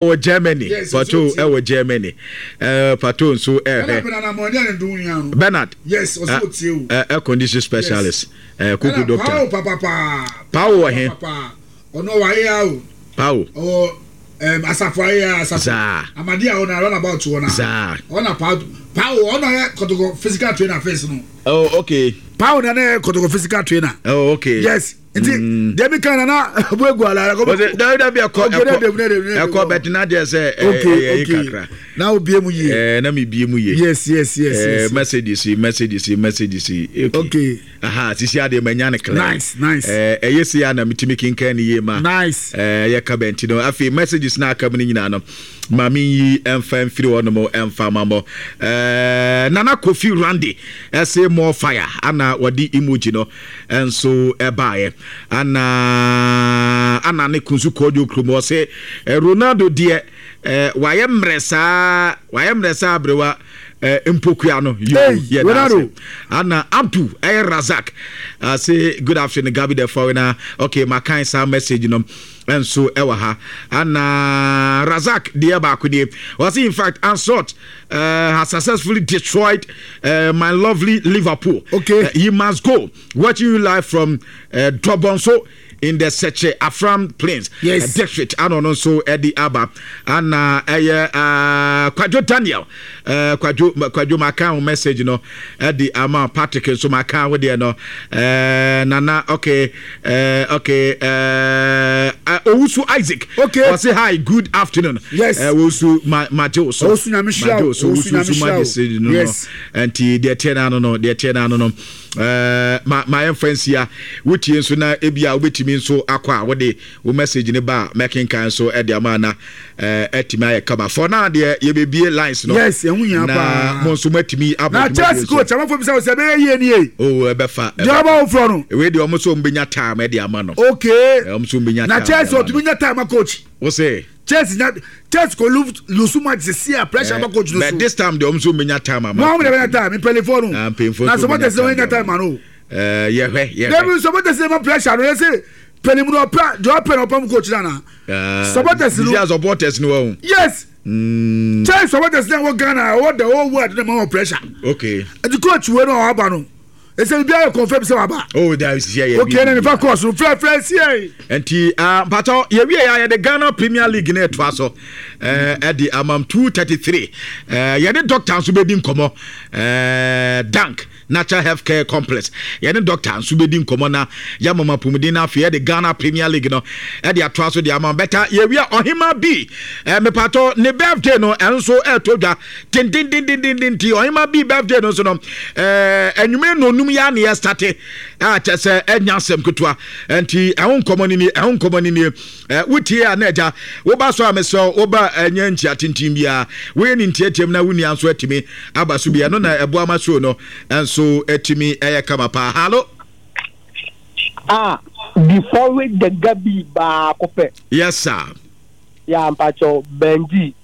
Wɔ Germany, Pato ɛwɔ Germany. Pato nso ɛhwɛ. Bernard. Yes, ɔsɛ otie o. Air condition specialist. Kuku doctor. Pawo papapaa. Pawo wɔ he? Ɔno wɔ ayɛ o. Pawo. Ɔwɔ asafo ayɛ asafo. Zaa. Amadi a ɔna run about wɔ na. Zaa. Ɔna pawo pawo ɔna yɛ kɔtɔkɔ physical trainer face no. Oh okay. Pawo na yɛ kɔtɔkɔ physical trainer. Oh okay. Yes. Nti mm. deɛ mi kan na na bu egu ala ɛkɔ. Ɔsɛ dabi dabi ɛkɔ ɛkɔ ɛkɔ bɛt na deɛ sɛ ɛyɛ yi kakra. Na o bie mu yie. Ɛɛ na mi bie mu yie. Yes. Messages yi messages yi messages yi. Okay. Aha sisi adeɛ ma nya ne clear. Nice. Ɛɛ ɛyɛ si a na mi ti mi kinkan ne yie ma. Nice. Ɛɛ yɛ ka bɛnti no afei messages na aka mu ne nyinaa no maame yi ɛnfa nfiri hɔ nom ɛnfa ma mɔ ɛɛ Nana Kofi Randy ɛsɛ more fire ana wɔde emoji no. nso baeɛ. Ana ana ne kunsu kɔɔdwo kurom ɔse eh, Ronaldo deɛ eh, wayɛ mmerɛ saa wayɛ mmerɛ saa aberewa eh, mpokua no yo yɛ daase. Ana Abdu ɛyɛ eh, Razak ase good afternoon Gabi the foreigner okay makan saa message no nso ɛwɔ ha. Ana Razak deɛ baako nie ɔse in fact Ancelotti uh, has successfully destroyed uh, my lovely Liverpool. Okay. He must go. Watching you live from uh, Dobonso in the Seche Afram Plains yes. district. Ano no so Eddie Abba and uh, Kwadwo Daniel Kwadwo Kwadwo maka message no Eddie Ama Patrick so maka wo deɛ no Nana okay okay Owusu Isaac. Okay. Ɔse hi good afternoon. Yes. Owusu ma ma gye wo so. Owusu nyame hyira wo. Owusu nyame hyira wo. Yes. Nti deɛ teɛ n'ano no deɛ teɛ n'ano no ma ma yɛmfa nsia wotie nso na ebi a wobɛtumi nso akɔ a wode wo message ne ba a mɛkenkan nso de ama na atumi ayɛ kama for now deɛ yɛbɛbie lines no yes ɛho hia paa na mo nso moatumi abɔ na Chelsea coach amafo bisa sɛ ɛbɛyɛ yie nie oh ɛbɛfa deɛ ɔba wo frɔ no wei deɛ ɔmo nso ɔmo bɛnya time ɛde ama no okay ɔmo nso ɔmo bɛnya time na Chelsea ɔtumi nya time ma coach wo se Chelsea nya Chelsea ko lose match sisi a pressure ba coach no so but this time deɛ ɔmo nso ɔmo bɛnya time ama mo ɔmo de bɛnya time mpanyinfoɔ no na supporters no nya time ma no yɛhwɛ yɛhwɛ dabi supporters no ma pressure no yɛ sɛ pɛnimu no ɔpɛ deɛ ɔpɛ na ɔpɛ mu coach no ana supporters no yeah supporters no wɔn yes mm. kyɛn supporters na ɛwɔ Ghana ɛwɔ the whole world na ma wɔ pressure okay ɛti coach wo no ɔba no ɛsɛ bibi ayɛ confirm sɛ waba oh that is yeah yeah okay na nifa course no frɛ frɛ sie nti ah, mpatɔ yɛwie yɛ yɛde Ghana Premier League na ɛtoa so ɛde amam 233 yɛde doctor nso bɛdi nkɔmmɔ dank Natural Health Care Complex. Yɛne dɔkta nso bɛdi nkɔmmɔ na yɛama mo apɔmuden no afei yɛde Ghana Premier League no ɛde atoa so de ama bɛta yɛwia ɔhema bi eh, mepatɔ ne birthday no ɛno nso ɛɛtɔ dwa tententententen nti ɔhema bi birthday no nso no eh, anwumere na onum yɛ aneɛ state a kyɛ sɛ ɛnya asɛm ketewa nti ɛho nkɔmmɔ no nie ɛho nkɔmmɔ no nie Eh, wotie a na agya woba so a mesrɛ woba ɛnyɛ nkyia tenten biara woyɛ ne ntiatiam na wo nua nso atumi aba so bi ɛno na ɛboa ma show no nso atumi ɛyɛ kama paa halo Ah, before we the gabi baako pɛ. Yes sir. Ya mpakyɛw Benji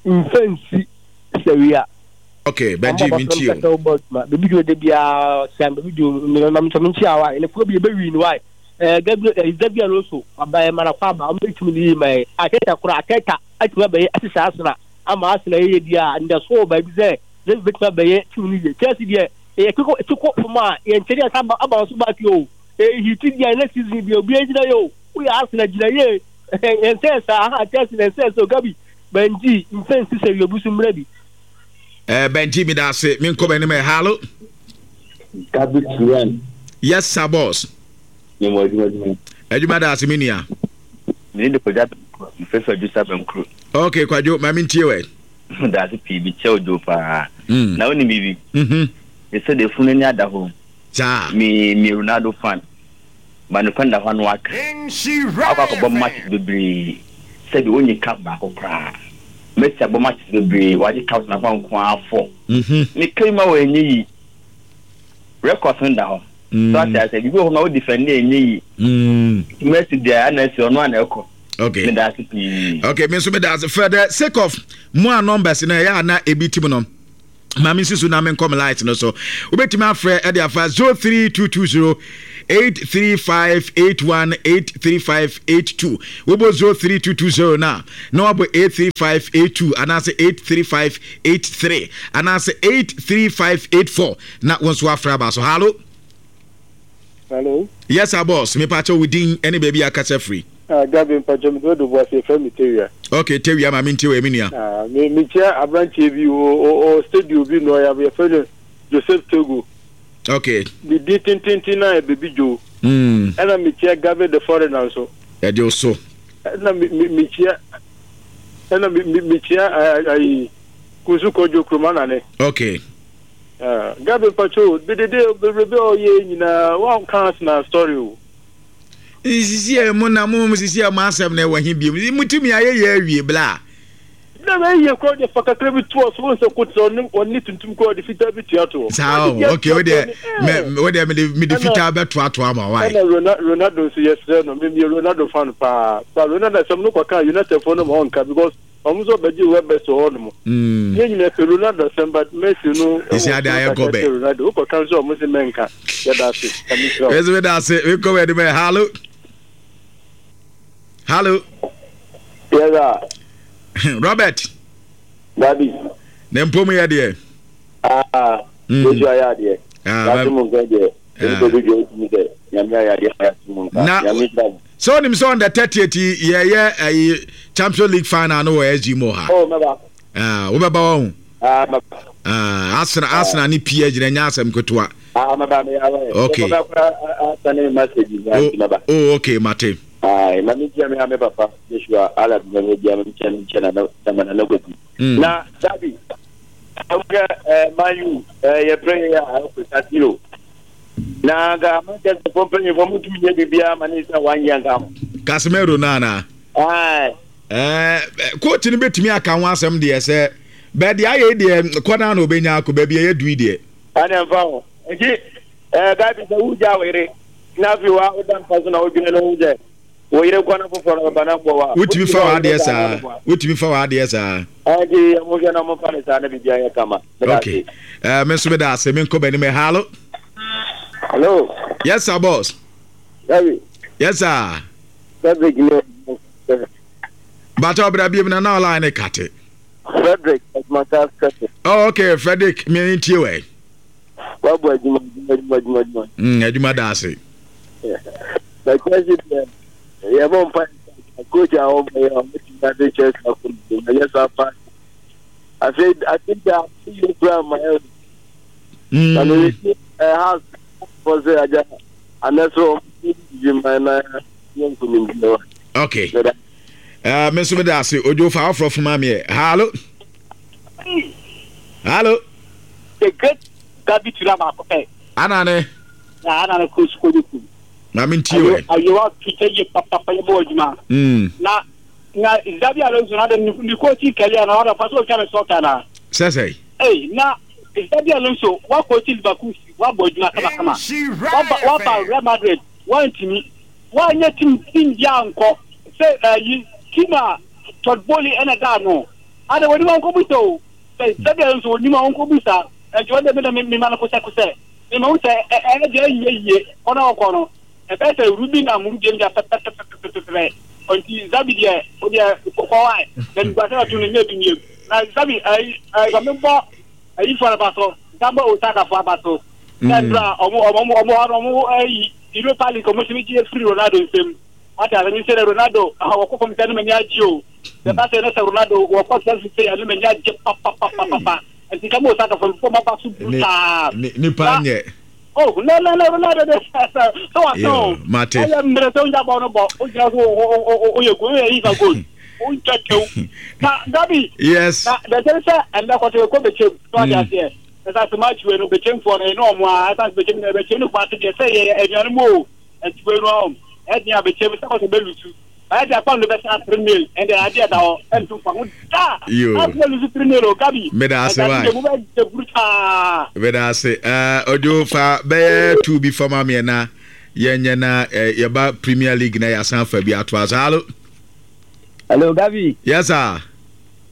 mfɛnsi sɛwia. Okay, Benji minti o. Baby jo de bia sian baby jo me ma me nkyia wa ne ko bi be win why. Eh, Gabriel, eh, Xabi Alonso, aba yɛ mana kɔ aba, ɔmo bɛtumi ne yie ma yɛ. Arteta koraa, Arteta atumi abɛyɛ asesa Arsenal ama Arsenal yɛyɛ bi a ndɛso wɔ baabi sɛ Xabi bɛtumi abɛyɛ team no yie. Chelsea deɛ, yɛ ti kɔ ti kɔ fam a, yɛnkyɛ deɛ aba aba nso back o. Ɛyɛ hiti deɛ next season deɛ obiara gyina yɛ o. Woyɛ Arsenal gyina yie. Yɛnsɛ saa, aha Chelsea na ɛnsɛ sɛ o Gabi, Benji, mfɛnsi sɛ wie obi so mmerɛ bi. Eh, Benji, me da ase. Me nkɔ m'anim ɛ. Hallo. Gabi Turen. Yes sir boss. Mewɔ adwuma adwuma. Adwuma da ase me nua. Me de Kwadwo Abɛnkuro. Mefrɛfrɛ Adwo sɛ Abɛnkuro. Okay Kwadwo, ma me ntie wɛ. Da ase pii bi kyɛw dwo paa. Mm. Na wonim biribi? Mhm. Me sɛ de funu ani ada hɔ. Saa. Me me Ronaldo fan. Ba no kwan da hɔ ano aka. Akɔ akɔbɔ matches bebree. Sɛbi onye cup baako koraa. Messi abɔ matches bebree, wagye cups na nko ara fɔ. Mhm. Me kai ma wɔ enye yi. Records no da hɔ. So ate ase biribi wɔ hɔ ma wo defend enye yi. Messi deɛ ana asi ɔno ana ɛkɔ. Okay. Meda ase pii. Okay, me nso meda ase. For the sake of mo a numbers no ɛyɛ a na ebi tim no. Ma me nsusu na menkɔ me light no so. Wobɛtumi afrɛ ɛde afa 03220 83581 83582. Wobɔ 03220 no a, na wabɔ 83582 anaasɛ 83583 anaasɛ 83584 na wo nso afrɛ aba so. Hallo. Hello. Yes, sir, boss. Me pacho wo din ɛne baabi akasa firi. Ah, Gabi mpacho me do bo ase frɛ me Tewia. Okay, Tewia ma me ntie wɔ me nua. Ah, me me kyia abranteɛ bi o o studio bi no ya yɛfrɛ no Joseph Togo. Okay. Ne din tententen na yɛ Baby Joe. Ɛna me kyia Gabi the foreigner nso. Ɛde o so. Ɛna me me me kyia ɛna me me me kyia ayi Kunsu Kɔdwo Kuroma Nane. Okay. Ah, Gabi mpacho dedede bebrebe a ɔyɛ nyinaa wanka Arsenal story o. Sisi a mo na mo sisi a mo asɛm na ɛwɔ he biom. Mo tumi ayɛ yɛ awie bla. Na bɛ yɛ kɔ de fa kakra bi to so wɔn sɛ kotra ɔne ɔne tuntum kɔ ɔde fitaa bi tua toɔ. Saa o, okay o deɛ mɛ o deɛ mede mede fitaa bɛ to ato ama wa. Ɛna Ronaldo nso yɛsrɛ no, me meyɛ Ronaldo fan paa. Ba Ronaldo asɛm no kɔka United foɔ no ma ɔnka because Ɔmo nso ɔbɛgye Webber so hɔ nom. Yɛn nyinaa pɛ Ronaldo asɛm but Messi no ɛwɔ Esi ade ayɛ kakra gɔbɛ. kyɛn Ronaldo. Wokɔ ka nso a ɔmo se mɛnka. Yɛda ase. Nyame nhyira wo. Mesi meda ase. Mekɔ wɔ anim ɛ. Hallo. Hallo. Yes sir. Robert. Dabi. Ne mpom yɛ deɛ. Ah, Yesu ayɛ adeɛ. Ah, Yɛate mu nka deɛ. Nnipa bi dwa wotumi sɛ Nyame ayɛ adeɛ ma yɛate mu nka. Na Nyame nhyira mo. sɛ wonim sɛ on the 30th yi yɛyɛ ayi Champions League final no wɔ SG mu ha. Oh, mɛba. Ah, wobɛba wɔ ho. Ah, mɛba. Ah, Arsenal, Arsenal ne PSG na ɛnyɛ asɛm ketewa. Ah, mɛba meyɛ awɛ. Okay. Mɛba kora asane message na Oh, nti mɛba. oh, okay, mate. Ah, ma me nkyia me a me papa Joshua ala bi ma me bia me nkyia me nkyia na na na na kwasi. Na Dabi, wohwɛ eh, Man U eh, yɛbrɛ yɛ a ɛkɔ Casemiro. Na nka Manchester fo mpanyinfoɔ mo tumi nyɛ biribiara ma ne nsa wanyɛ nka ho. Casemiro no anaa? Aye. Eh, coach no bɛtumi aka ho asɛm deɛ sɛ bɛɛ deɛ ayɛ yi deɛ kɔ no na ɔbɛnya akɔ baabi a yɛadu yi deɛ. Ɛne mfa ho. Nti eh, Gabi sɛ wogya wo yere na afei wa woda mpa so na wodwene no ho sɛ wo yere kɔ na foforɔ no bɛba na mmoa wo a, Wotumi wotumi fa fa wo yere w'adeɛ saa na saa. mmoa. Wotumi fa w'adeɛ saa. Ɛnti monhwɛ na momfa no saa na biribiara nyɛ kama. Meda Okay. ase. Me nso meda ase. Menkɔ m'anim ɛ. Hallo. Hello. Yes sir, boss. Dabi. Yes sir. Frederick ne. Bàtà ọbẹ̀rẹ̀ bíi na náà line kàtẹ. Frederick Adwumata Frederick. Oh, okay, Frederick, mi n tie wɛ. Wabɔ adwuma adwuma adwuma adwuma adwuma. Adwuma da ase. Na Chelsea deɛ yɛbɔ mpa coach a wɔbɔ yɛ a wɔtumi ade Chelsea akɔ mu na yɛ saa pa. Afei ade da yɛ kura ma yɛ. Na ne yɛ ɛ house fɔ sɛ agya anɛsɛ wɔn ti ma na yɛ nkunimdi wa. Okay. Me nso meda ase odwo fa aforɔ foma meɛ. Hallo. Hallo. The great Gabi Tura baako pɛ. Ana ne. Na ana ne kò sukuu ne ku. Na mi ntie wɛ. Ayewa tuta yie papapa yɛ bɔ adwuma. Na na Xabi Alonso na de ne coaching career na ɔda fa so otwa ne sɔka na. Sɛsɛe. Ei na Xabi Alonso wa coach Liverpool wa bɔ adwuma kama kama. Wa ba wa ba Real Madrid wa ntumi. Wa nyɛ team team bi ankɔ sɛ ayi team a Todd Boehly ɛna da ano. Ada wɔn nipa nkɔ busa o. Sɛ Xabi Alonso wɔn nipa nkɔ busa. Ɛnti wɔn de mi na mi ma no kosɛ kosɛ. Mi ma ho sɛ ɛyɛ deɛ ɛnyɛ yie kɔ na ɔkɔ no. Ɛbɛyɛ sɛ Rubi na Muru deɛ pɛpɛpɛpɛpɛpɛ. Nti Xabi deɛ o deɛ kɔ wa na niguase na to no nyɛ bi nie. Na Xabi ɛyi ɛyi mi bɔ ɛyi fo aba so. Gamba Osaka fo aba so. Sɛ ndura ɔmo ɔmo ɔmo hɔ no ɔmo ɛyi Europa League ɔmo tumi gye firi Ronaldo nsam. Wate ase mi sɛ Ronaldo wɔkɔ fam sɛ ɛno m'ani agye o. Sɛ ba sɛ ne sɛ Ronaldo wɔkɔ Chelsea sɛ ɛno m'ani agye papapapapa. Nti Gamba Osaka fo ɔmo aba so brutal. Nipa nyɛ. Oh, no, no, no, Ronaldo de sɛ sɛ wasa o. Mate. Ɛyɛ mmerɛ sɛ wonya bɔ no bɔ, wogyina so woyɛ goal, woyɛ yifa goal. Wontwa tew. Na Gabi. Yes. Na bɛkyɛm sɛ ɛndɛ kɔtɔ ɛkɔ bɛkyɛm. So ate aseɛ. Ɛsɛ sɛ match wei no bɛkyɛmfoɔ no ɛne ɔmo a ɛsɛ sɛ bɛkyɛm no bɛkyɛm no kuma ase deɛ sɛ yɛ anuanom o. Ɛnti wei no ɔm ɛden a bɛkyɛm sɛ kɔtɔ bɛlusu. Ɛyɛ de akpa no bɛsa 3 nil ɛnde adeɛ da hɔ ɛnto fa ho da. Yo. Arsenal lose 3 nil o Gabi. Meda ase Ɛnti wai. ade deɛ mobɛgye brutaa. Meda ase. Ojo fa bɛyɛ two bi fama meɛ na yɛnyɛ na yɛba Premier League na yɛasan afa bi atoa so. Hallo. Hello Gabi. Yes sir.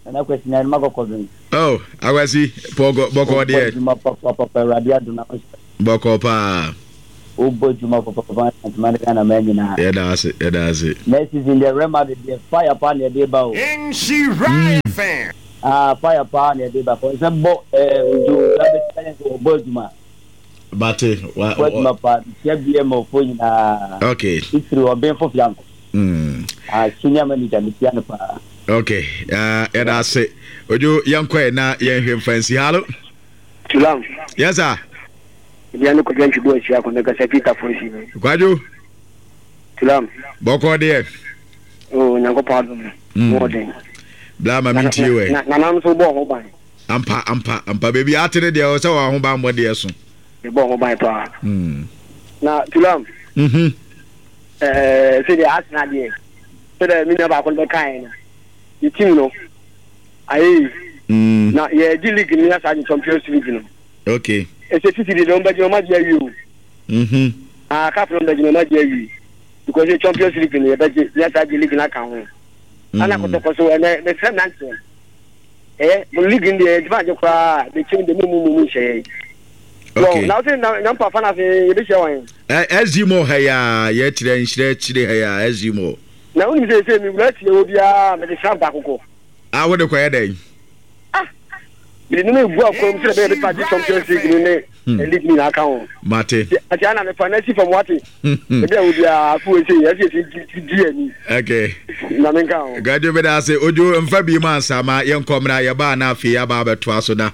Nana Kwesi na ɛnuma kɔkɔ bin. Oh, Akwasi, bɔkɔ bɔkɔ deɛ. Wobɔ adwuma papapapa, Awurade adom na wo Bɔkɔ paa. Wobɔ adwuma papapapa Asantuma ne Ghana man nyinaa. Yɛda ase, yɛda ase. Next season deɛ Real Madrid deɛ fire paa na yɛde ba o. Mm. Ah, fire paa na yɛde ba. Kɔn sɛ bɔ ɛɛ ojo ojo abɛti ayɛ sɛ wɔbɔ adwuma. Bate. Wa Bɔ adwuma paa. Mekyia BMO fo nyinaa. Okay. Titiri ɔbenfo Fianko. Mm. Ah, senior manager mekyia no paa. Okay. Uh, yɛda ase. Ojo yɛnkɔ ɛ na yɛnhwɛ mfa nsi. Hello. Tulam. Yes sir. Ebia ne kwadwo ntwibo ahyia ko mekasa fi tafo nsi. Kwadwo. Tulam. Bɔkɔ deɛ. Oh, Nyankopɔn adom. Mm. Wɔden. Bla ma mentie wɛ. Na nanam nso bɔ ho ban. Ampa ampa ampa baabi ate ne deɛ sɛ wɔn ho ban bɔ deɛ so. Bɔ ho ban paa. Mm. Na Tulam. Mhm. Ɛɛ sɛ deɛ asena deɛ sɛ deɛ me nua baako no bɛkaeɛ no ne team no ayɛ yi. Mm. Na yɛgye league no yɛ saa gye Champions League no. Okay. Ɛsɛ sisi deɛ wɔn bɛgye wɔn agye awie o. Mhm. Ah cup no bɛgye wɔn agye awie because Champions League no yɛbɛgye yɛ saa gye league no aka ho. Ana kɔtɔkɔ so ɛnɛ mɛsrɛ mmeranteɛ ɛyɛ mo league no deɛ yɛgyima agye koraa bɛkyɛm deɛ mo mu mu mu nhyɛ yɛn. Okay. Na wosɛ na na mpa fa na ase yɛbɛhyia wɔn. Ɛ SG mo ha ya yɛkyerɛ nhyerɛ kyerɛ ha ya SG mo. Na wonim sɛ sɛ mewura tie wɔ biara mede sram baako kɔ. Ah wode kɔyɛ dɛn? Ah mede no megu akwan mu sɛ bɛyɛ bɛpa gye Champions League no ne hmm. league no nyinaa ka ho. Mate. Ati ana mefa na si fam wate. Ebi a wo biara afo wei sɛ yɛsi yɛsi di ani. Okay. Na menka ho. Gradwo bɛda ase ojo mfa bi mu ansa ma yɛnkɔ mmra yɛbaa na afei yɛaba abɛtoa so na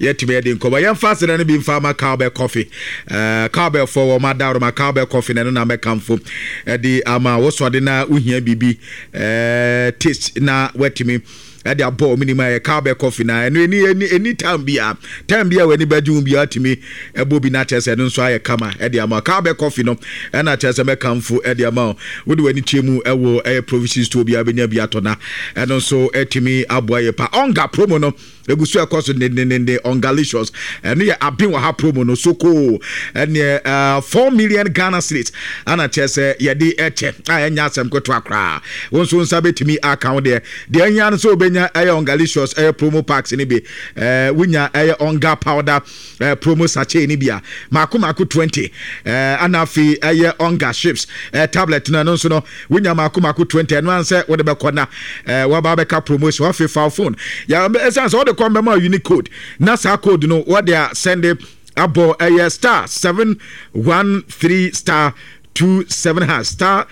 yɛtumi adi nkɔmmɔ. Yɛmfa aseda no bi mfa ama Cowbell Coffee. Uh, Cowbell fo wɔn adaworoma Cowbell Coffee na ɛno na mɛkamfo ɛde ama wo sɔde na wohia biribi uh, taste na watumi ɛde abɔ wɔn anim ayɛ cowbell coffee na ɛno ɛni ɛni ɛni time bia time bia w'ani bɛgye ho bia atumi ɛbɔ bi na kyerɛ sɛ ɛno nso ayɛ kama ɛde ama cowbell coffee no ɛna kyerɛ sɛ mɛkamfo ɛde ama wo wode w'ani kyerɛ mu ɛwɔ ɛyɛ provision store bia bɛnya bi atɔ na ɛno nso ɛtumi aboa yɛ pa ɔnga promo no Egu so ɛkɔ so dendendenden Ongalicious. Ɛno yɛ aben wɔ ha promo no so koo. Ɛneɛ uh, 4 million Ghana cedis ana kyerɛ sɛ yɛde ɛkyɛ a ɛnyɛ asɛm ketewa koraa. Wo nso nsa bɛtumi aka wo deɛ. Deɛ ɛhia no sɛ wobɛnya ɛyɛ Ongalicious ɛyɛ promo packs no bi. Ɛɛ wonya ɛyɛ Onga powder ɛɛ promo sachet no bi a mako mako 20. Ɛɛ ana afei ɛyɛ Onga chips ɛɛ tablet no ɛno nso no Wonya mako mako 20 ɛno ara sɛ wode bɛkɔ na eh, waba abɛka promotion afei fa phone ya ɛsiane sɛ wode kɔ mbɛma unique code na saa code no wɔde a sɛnde abɔ ɛyɛ star 713 star 27 hash star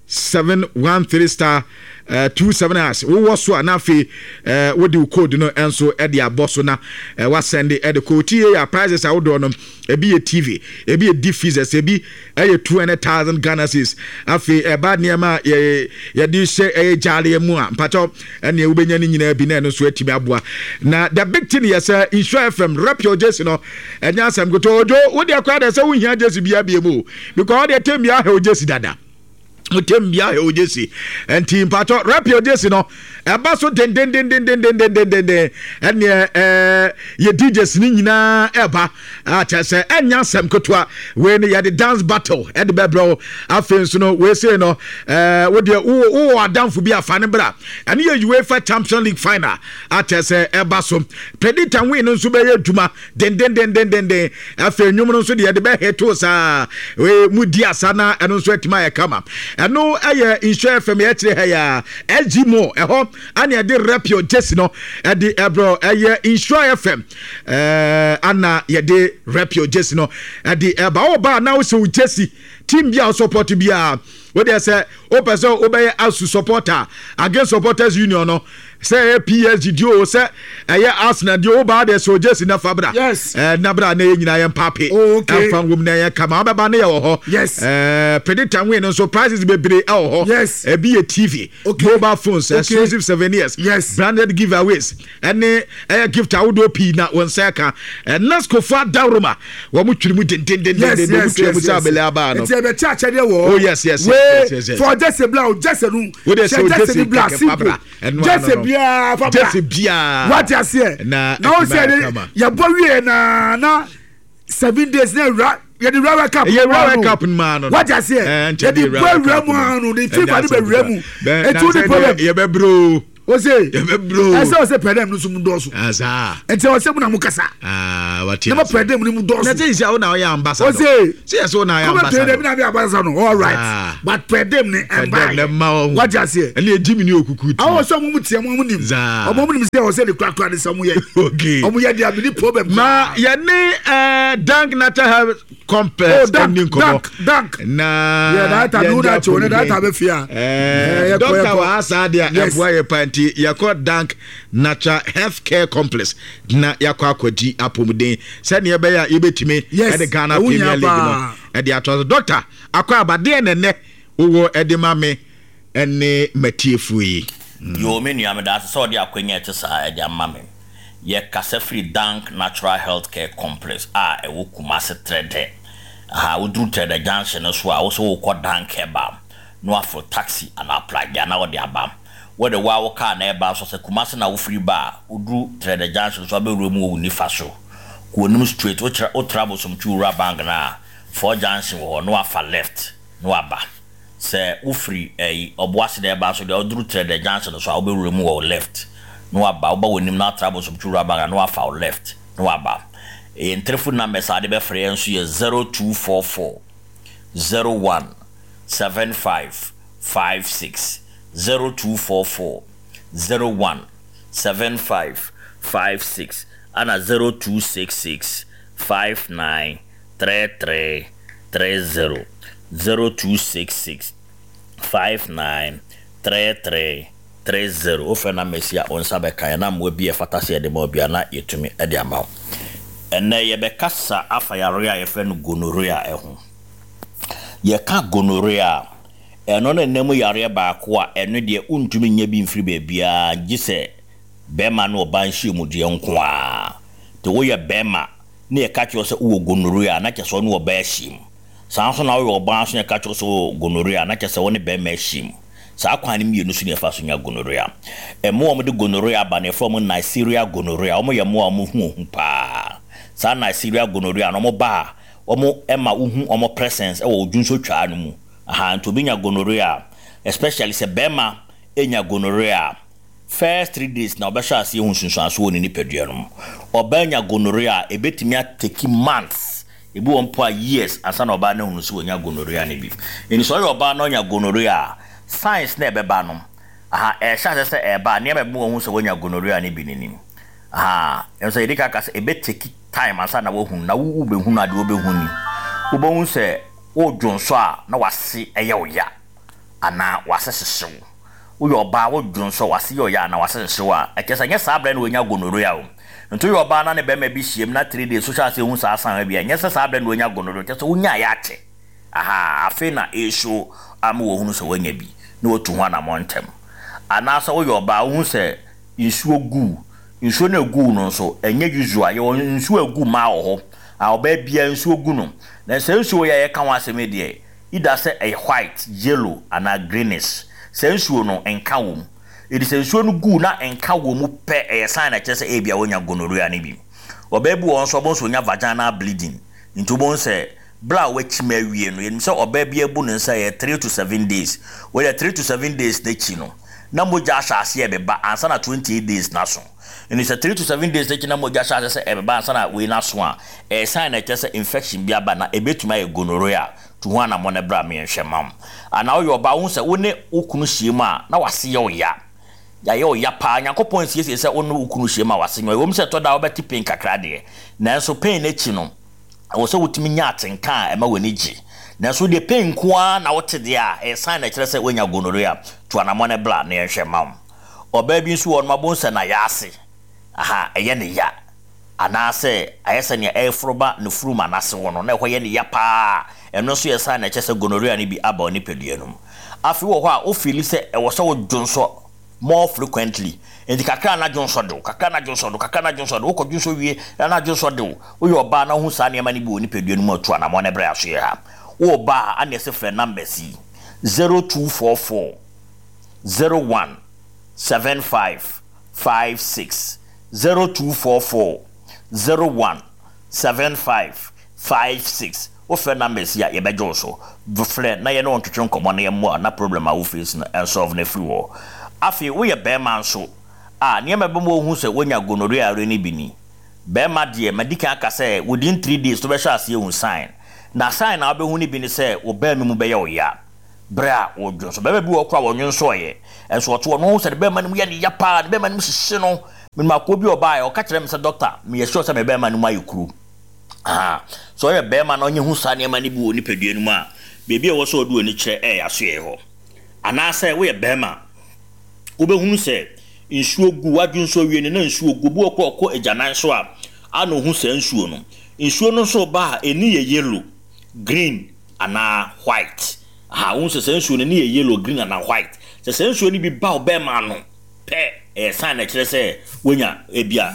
713 star uh, 27 hash wowɔ so a na afei uh, wode wo code no nso de abɔ so na uh, wasɛnde ɛde kɔ tia a prizes ahodoɔ no ebi yɛ tv ebi yɛ deep freezers ebi ɛyɛ 200,000 Ghana cedis. Afei ɛba nneɛma a yɛ yɛde hyɛ ɛyɛ gyaaleɛ mu a mpakyɛw ɛneɛ wobɛnya ne nyinaa bi na ɛno nso atumi aboa. Na the big thing yɛ sɛ Nhyira FM rep your jersey no ɛnyɛ asɛm ketewa. Ojo wo deɛ koraa deɛ sɛ wohia jersey biara bie mu o because wo deɛ tɛm biara hɛ wo jersey dada. Wotem bia hɛ wo jersey. Nti mpakyɛw rep your jersey no ɛba so dendendendendendendenden ɛneɛ ɛɛ yɛ DJs ne nyinaa ɛba. A kyerɛ sɛ ɛnyɛ asɛm ketewa. Wei no yɛde dance battle ɛde bɛbrɛ wo. Afei nso no wei sei no ɛɛ wo deɛ wowɔ wowɔ adamfo bi afa ne bra. Ɛno yɛ UEFA Champions League final. A kyerɛ sɛ ɛba so. Predict and win no nso bɛyɛ adwuma dendendendendenden. Afei nnwom no nso deɛ yɛde bɛhete saa. Wei mu di asa na ɛno nso atumi ayɛ kama. Ɛno ɛyɛ Nhyira FM yɛkyerɛ ha ya. SG Mo ɛhɔ ana yɛde rep your jersey no ɛde ɛbrɛ ɛyɛ Nhyira FM. Eh, ana yɛde rep your jersey no ɛde ɛba wo ba na wosɛ wo jersey team bi a support biara wodeɛ sɛ wopɛ sɛ wobɛyɛ asu supporter against supporters union no sɛ ɛyɛ PSG di o sɛ ɛyɛ Arsenal di o wobaa deɛ sɛ o jersey na fa bra yes. eh, na bra na yɛ nyinaa yɛ mpape oh, okay. ɛmfa nwom na yɛ kama wobɛba ne yɛ wɔ hɔ yes. eh, predict and win nso prizes bebree ɛwɔ hɔ yes. ebi yɛ TV okay. mobile phones okay. exclusive souvenirs yes. branded giveaways ɛne ɛyɛ gift ahodoɔ pii na wɔn nsa ka nascofo adaworoma wɔn twiri mu dendendenden wɔn twiri mu sɛ abɛlɛ abaa no. nti ɛbɛ kyɛ akyɛdeɛ wɔ oh yes yes yes yes yes fɔ jɛsɛ bla o jɛsɛ nu o de sɛ o jɛsɛ ni bla simple jɛsɛ biara fa bla jɛsɛ biara wate aseɛ na na o sɛ de yɛbɔ wie na na 7 days na ewura yɛde wura wɛ cup yɛ wura wɛ cup mu ano wate aseɛ yɛde bɔ ewura mu ano de fifa de bɛ wura mu etu ni problem yɛ bɛ bro. Ose. Yɛbɛbrɛ o. Ɛsɛ ɔsɛ pɛdɛm no so mu dɔɔso. Asa. Nti ɔsɛ mu na mo kasa. Ah, wate ase. Na mo pɛdɛm no mu dɔɔso. Na sɛ sɛ wo na ɔyɛ ambassador. Ose. Sɛ yɛ sɛ wo na ɔyɛ ambassador. Kɔmɛ pɛdɛm na mi ambassador no. All right. Ah. But pɛdɛm ne ɛmba. Pɛdɛm ne mma wɔn. Wate aseɛ. Ɛne egyi mi ni okuku ti. Awɔ sɛ ɔmo mu tiɛ mo ɔmo nim. Zaa. Ɔmo nim sɛ ɔsɛ de kurakura de sɛ ɔmo yɛ. Okay. Ɔmo yɛ de abi ni problem. Ma yɛ ne ɛɛ Dank Natural Health Complex oh, ɛni nkɔmɔ. Dank Dank. Na yɛ data nu na kyɛw ne data bɛ fia. Ɛɛ dɔkta wɔ ha saa deɛ ɛboa yɛ pa nti yɛkɔ Dank Natural Health Care Complex na yɛakɔ akɔgye apɔmuden sɛdeɛ ɛbɛyɛ a yɛbɛtumi ɛde Ghana Premier League no ɛde ato so. Dɔkta akɔ aba deɛ na ɛnɛ wowɔ ɛde ma me ɛne matiefoɔ yi. Yoo me nua medaase sɛ ɔde akwanya a ɛte saa ɛde ama me. Yɛ kasa firi Dank Natural Health Care Complex a ɛwɔ Kumasi Trɛdɛ. Ahaa woduru Trɛdɛ junction no so a wose wokɔ Dank Herbal na waforo taxi anaa pragya na wode aba. Wode wo ara wo car na ɛreba nso a sɛ Kumasi na wofiri ba a woduru Trɛdɛ junction no so a wobɛwura mu wɔ wo nifa so. Kɔ w'anim straight wotra wotra Bosomtwe Wura Bank no a Four junction wɔ hɔ na wafa left na waba. Sɛ wofiri ɛyi Ɔboase na ɛreba nso deɛ woduru Trɛdɛ junction no so a wobɛwura mu wɔ wo left na waba. Woba w'anim na woatra Bosomtwe Wura Bank a na wafa wo left na waba. Yɛn telefon numbers a wode bɛfrɛ yɛn nso yɛ 0244 01 75 56, 0244 01 75 56 ɛna 0266 59 33 30, 0266 59 33 30. Wofrɛ numbers yi a, wo nsa bɛka yɛn na mmoa bi a ɛfata sɛ yɛde ma wo biara na yɛatumi de ama wo. Ɛnnɛ yɛbɛkasa afa yareɛ a yɛfrɛ no gonorrhea ho. Yɛka gonorrhea a, ɛno ne nna mu yareɛ baako a ɛno deɛ wontumi nnya bi mfiri baabiara gye sɛ bɛrima ne ɔbaa nhyiamudeɛ nko ara. Nti woyɛ bɛrima na yɛka kyerɛ wo sɛ wowɔ gonorrhea a, na kyerɛ sɛ wo ne ɔbaa ahyiam. Saa ara nso na woyɛ ɔbaa nso na yɛka kyerɛ wo sɛ wowɔ gonorrhea a, na kyerɛ sɛ wo ne bɛrima ahyiam. Saa kwan no mmienu so na yɛfa so nya gonorrhea. Mmoa a wɔde gonorrhea ba no, yɛfrɛ wɔn Neisseria gonorrhea. Wɔyɛ mmoa a wɔn ho hu paa. Saa Neisseria gonorrhea no, wɔba a, wɔma wohu wɔn presence wɔ wo dwonsotwaa no mu. Ahaa, nti obi nya gonorrhea a, especially sɛ barima nya gonorrhea a, first 3 days na ɔbɛhyɛ aseɛ hu nsunsuansoɔ wɔ ne nipadua no mu. Ɔbaa nya gonorrhea a, ɛbɛtumi atake months, ebi wɔ mpo a years ansa na ɔbaa no ahunu sɛ wanya gonorrhea no bi. Nti sɛ ɔyɛ ɔbaa na ɔnya gonorrhea a, signs na ɛbɛba no, aha, ɛhyɛ aseɛ sɛ ɛreba a, nneɛma a ɛbɛma wahu sɛ wanya gonorrhea no bi no ni. Aha, ɛno sɛ yɛdi kan ka sɛ ɛbɛtake time ansa na wahunu, na wo wobɛhunu a, deɛ wobɛhu ni. Wobɛhu sɛ wodwonsɔ a na w'ase yɛ wo ya anaa w'ase hyehye wo. Woyɛ ɔbaa wodwonsɔ w'ase yɛ ɔya anaa w'ase hyehye wo a, ɛkyerɛ sɛ ɛnyɛ saa berɛ na wanya gonorrhea o. Nti woyɛ ɔbaa na ne barima bi hyiam na 3 days wohyɛ aseɛ hu saa sign bi a, ɛnyɛ sɛ saa berɛ na wanya gonorrhea, kyerɛ sɛ wonyaeɛ akyɛ. Ahaa, afei na ɛreshow ama wahunu sɛ wanya bi na watu ho anammɔn ntɛm. Anaasɛ woyɛ ɔbaa wohu sɛ nsuo gu wo, nsuo no a ɛgu wo no nso, ɛnyɛ usual. Yɛwɔ nsuo a ɛgu mmaa wɔ hɔ a ɔbaa biara nsuo gu no. Na saa nsuo yi a yɛreka ho asɛm yi deɛ, either sɛ ɛyɛ white, yellow anaa greenish. Saa nsuo no, nka wɔ mu. Enti sɛ nsuo no gu na nka wɔ mu pɛ, ɛyɛ sign a ɛkyerɛ sɛ ebia woanya gonorrhea no bi. Ɔbaa bi wɔ hɔ nso a, wobɛhu sɛ ɔnya vaginal bleeding. Nti wobɛhu sɛ berɛ a wakyim awie no, yɛnim sɛ ɔbaa biara bu ne nsa ɛyɛ 3 to 7 days. Wei deɛ 3 to 7 days no akyi no, na mogya ahyɛ aseɛ ɛbeba ansa na 28 days no aso. Nti sɛ 3 to 7 days no akyi na mogya hyɛ aseɛ sɛ ɛbeba ansa na wei no aso a, ɛyɛ sign a ɛkyerɛ sɛ infection bi aba na ɛbɛtumi ayɛ gonorrhea. Tu ho anammɔn na bra meɛnhwɛ mma wo. Anaa woyɛ ɔbaa wohu sɛ wo ne wo kunu hyia mu a na w'ase yɛ wo ya. Yɛayɛ wo ya paa. Nyankopɔn nsiesie sɛ wo ne wo kunu hyia mu a w'ase nyɛ wo ya. Ɛwom sɛ ɛtɔ da a wobɛte pain kakra deɛ, nanso pain no akyi no, ɛwɔ sɛ wotumi nya atenka a ɛma w'ani gye. Nanso wo deɛ pain nko ara na wote deɛ a, ɛyɛ sign a ɛkyerɛ sɛ woanya gonorrhea. Tu anammɔn na bra na yɛnhwɛ mma wo. Ɔbaa bi nso wɔ hɔ nom a wobɛhu sɛ n'ayaase, aha, ɛyɛ no ya. Anaasɛ ayɛ sɛ nea ɛreforo ba ne furum anase hɔ no, na ɛhɔ yɛ no ya paa. Ɛno nso yɛ sign a ɛkyerɛ sɛ gonorrhea no bi aba wo nipadua no mu. Afei wɔ hɔ a, wo feeli sɛ ɛwɔ sɛ wodwonsɔ more frequently. Enti kakra na dwonsɔ de wo, kakra na dwonsɔ de wo, kakra na dwonsɔ de wo. Wokɔ dwonsɔ wie na na dwonsɔ de wo. Woyɛ ɔbaa na wohu saa nneɛma no bi wɔ wo nipadua no mu a, tu anammɔn na brɛ asoɛe ha. Wowɔ ba a, ana ɛsɛ frɛ numbers yi, 0244 01 75 56 0244 01 75 56. Wofrɛ numbers yi a, yɛbɛgye wo so. Frɛ na yɛne wo ntwetwe nkɔmmɔ na yɛmmoa wo na problem a wo face no ɛnsolve no afiri hɔ. Afei woyɛ barima nso a, nneɛma a ɛbɛma woahu sɛ woanya gonorrhea yareɛ no bi ni. Barima deɛ, madi kan aka sɛ within 3 days wobɛhyɛ aseɛ ahu sign. Na sign a wobɛhu no bi ne sɛ wo barima mu bɛyɛ wo ya berɛ a wodwo nso. Barima bi wɔ hɔ koraa a ɔnwonsɔeɛ, nso ɔte hɔ no wohu sɛ ne barima no mu yɛ no ya paa, ne barima no mu hyehye no. Menim akoa bi a ɔbaeɛ, ɔka kyerɛɛ me sɛ doctor, meyɛ sure sɛ me barima no mu ayɛ kuru. Ahaa, sɛ ɔyɛ barima na ɔnya hu saa nneɛma no bi wɔ nipadua no mu a, baabi a ɛwɔ sɛ ɔde w'ani kyerɛ ɛyɛ asoɛe hɔ. Anaasɛ woyɛ barima a, wobɛhunu sɛ nsuo gu w'adwene so awie no na nsuo gu. Obi wɔ hɔ koraa a ɔkɔ agyanan so a, a na ɔhu saa nsuo no. Nsuo no nso reba a, ɛni yɛ yellow, green anaa white. Ahaa, wohu sɛ saa nsuo no, ɛni yɛ yellow, green anaa white. Sɛ saa nsuo no bi ba wo barima ano pɛ, ɛyɛ sign a ɛkyerɛ sɛ woanya ebia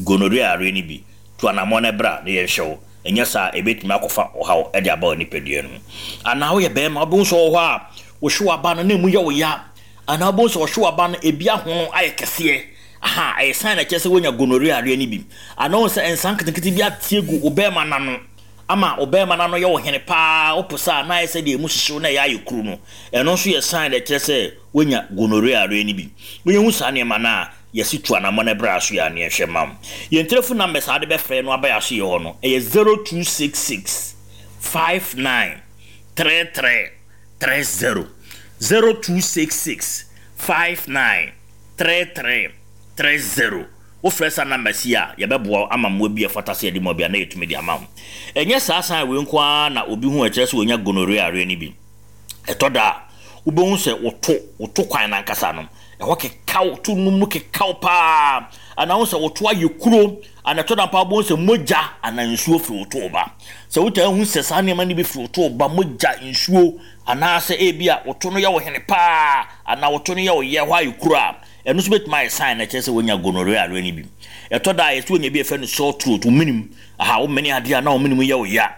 gonorrhea yareɛ no bi. Tu anammɔn na bra na yɛnhwɛ wo, anyɛ saa a ebetumi akɔfa ɔhaw de aba wo nipadua no mu. Anaa woyɛ barima, wobɛhu sɛ ɔwɔ hɔ a, wohwe w'aba no na emu yɛ wo ya. Anaa wobɛhu sɛ ɔhwe w'aba no, ebi ahono ayɛ kɛseɛ. Aha, ɛyɛ sign a ɛkyerɛ sɛ woanya gonorrhea yareɛ no bi. Anaa wohu sɛ nsa nketenkete bi ate agu wo barima no ano ama wo barima no ano yɛ wo hene paa, wopo saa a na ayɛ sɛ deɛ emu hyehye wo na ɛyɛ ayɛ kuru no. Ɛno nso yɛ sign a ɛkyerɛ sɛ woanya gonorrhea yareɛ no bi. Wonya hu saa nneɛma no a, Yɛse tu anamɔ na bra aso yɛ a ne yɛnhwɛ mma wo. Yɛn telefon numbers a wode bɛfrɛ no aba yɛn aso yɛ hɔ no, ɛyɛ 0266 59 33 30, 0266 59 33 30. Wofrɛ saa numbers yi a, yɛbɛboa wo ama mmoa bi a ɛfata sɛ yɛde ma obi a na yɛtumi de ama wo. Ɛnyɛ saa sign wei nko ara na obi hu a ɛkyerɛ sɛ wanya gonorrhea yareɛ no bi. Ɛtɔ da a, wobɛhu sɛ woto, woto kwan no ankasa no, ɛhɔ kekaw, to no mu kekaw paa, anaa wohu sɛ woto ayɛ kuro, anaa ɛtɔ da mpo a wobɛhu sɛ mogya anaa nsuo firi wo to reba. Sɛ wotaa hu sɛ saa nneɛma no bi firi wo to reba, mogya, nsuo, anaasɛ ebi a woto no yɛ wo hene paa, anaa woto no yɛ wo yɛ, ɛhɔ ayɛ kuro a, ɛno nso bɛtumi ayɛ sign na ɛkyerɛ sɛ woanya gonorrhea yareɛ no bi. Ɛtɔ da a yɛsɛ wonya bi a yɛfrɛ no sore throat, wo menem, aha, womene adeɛ a na wo menem yɛ wo ya.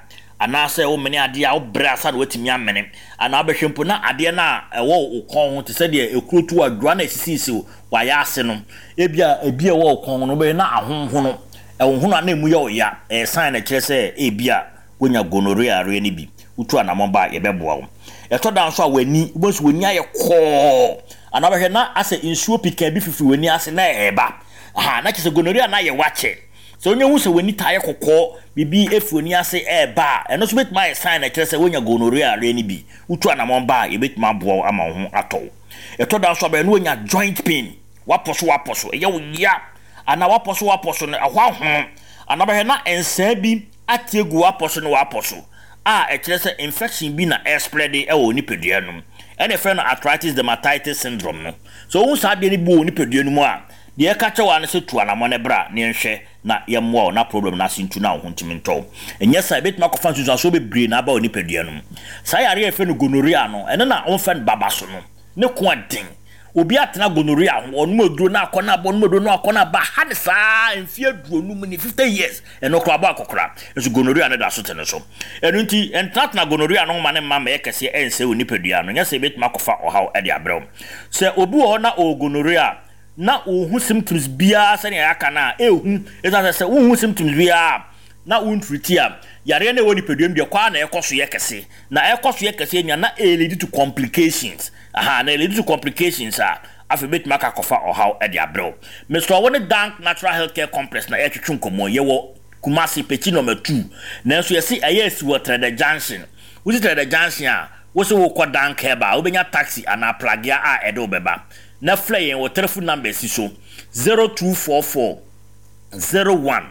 Anaasɛ womene adeɛ a, wobrɛ ansa na woatumi amene. Anaa wobɛhwɛ mpo na adeɛ no a ɛwɔ wo kɔn ho te sɛ deɛ ekuro tu adwoa na ɛsisisisi w'ayaase no, ebia ebi a ɛwɔ wo kɔn ho no, wobɛhwɛ na ahonhono. Ɛhonhono a na emu yɛ wo ya. Ɛyɛ sign a ɛkyerɛ sɛ ebia woanya gonorrhea yareɛ no bi. Wotu anammɔn ba a, yɛbɛboa wo. Ɛtɔ da nso a w'ani, wobɛhu sɛ w'ani ayɛ kɔɔ. Anaa wobɛhwɛ na asɛ nsuo pikaa bi fifiri w'ani ase na ɛreba. Aha, na kyerɛ sɛ gonorrhea no ayɛ wo akyɛ. Sɛ wonya hu sɛ w'ani taa yɛ kɔkɔɔ, biribi fi w'ani ase reba a, ɛno nso betumi ayɛ sign a ɛkyerɛ sɛ woanya gonorrhea yareɛ no bi. Wotu anammɔn ba a, yɛbɛtumi aboa wo ama wo ho atɔ wo. Ɛtɔ da nso a, bɛyɛ na woanya joint pain, woapɔ so woapɔ so, ɛyɛ wo ya, anaa woapɔ so woapɔ so no, ɛhɔ ahono, anaa bɛhwɛ na nsaa bi ate agu w'apɔ so ne w'apɔ so a ɛkyerɛ sɛ infection bi na ɛrespreade wɔ wo nipadua no mu. Ɛna yɛfrɛ no arthritis dermatitis syndrome no. Sɛ wohu saa adeɛ no bi wɔ wo nipadua no mu a, Deɛ yɛka kyerɛ wo ara ne sɛ tu anamɔn na bra na yɛnhwɛ na yɛmmoa wo na problem no ase ntu na wo ho ntumi ntɔ wo. Ɛnyɛ saa a, ɛbɛtumi akɔfa nsunsuansoɔ bebree na aba wo nipadua no mu. Saa yareɛ a yɛfrɛ no gonorrhea no, ɛno na wɔfrɛ no babaso no. Ne ko ɛden. Obi atena gonorrhea ho, ɔnom aduro na akɔ na aba, ɔnom aduro na akɔ na aba, ha ne saa mfeɛ 50 ni, 50 years, ɛno koraa abɔ akɔkora. Nso gonorrhea no da so te ne so. Ɛno nti, ntenatena gonorrhea no ho ma ne mma mmɛyɛ kɛseɛ ɛnsɛe wo nipadua no, nyɛ saa ɛbɛtumi akɔfa ɔhaw de abrɛ wo. Sɛ obi wɔ hɔ na ɔwɔ gonorrhea a, na wonhu symptoms biara sɛnea yɛaka no a, ɛhu. Ɛsiane sɛ sɛ wonhu symptoms biara a, na wontreati a, yareɛ no a ɛwɔ nipadua mu deɛ kɔ ara na ɛkɔ so yɛ kɛse. Na ɛkɔ so yɛ kɛse nua na ɛlead to complications. Aha, na ɛlead to complications a, afei ɛbɛtumi aka akɔfa ɔhaw de abrɛ wo. Mesrɛ wo ne Dank Natural Healthcare Complex na yɛretwetwe nkɔmmɔ yi. Yɛwɔ Kumasi, Pekyi Number 2. Nanso yɛse ɛyɛ asi wɔ Trɛdɛ Junction. Wosi Trɛdɛ Junction a, wose wokɔ Dank Herbal a, wobɛnya taxi anaa pragea a ɛde wo bɛba. na frɛ yɛn wɔ telefon numbers yi so, 0244 01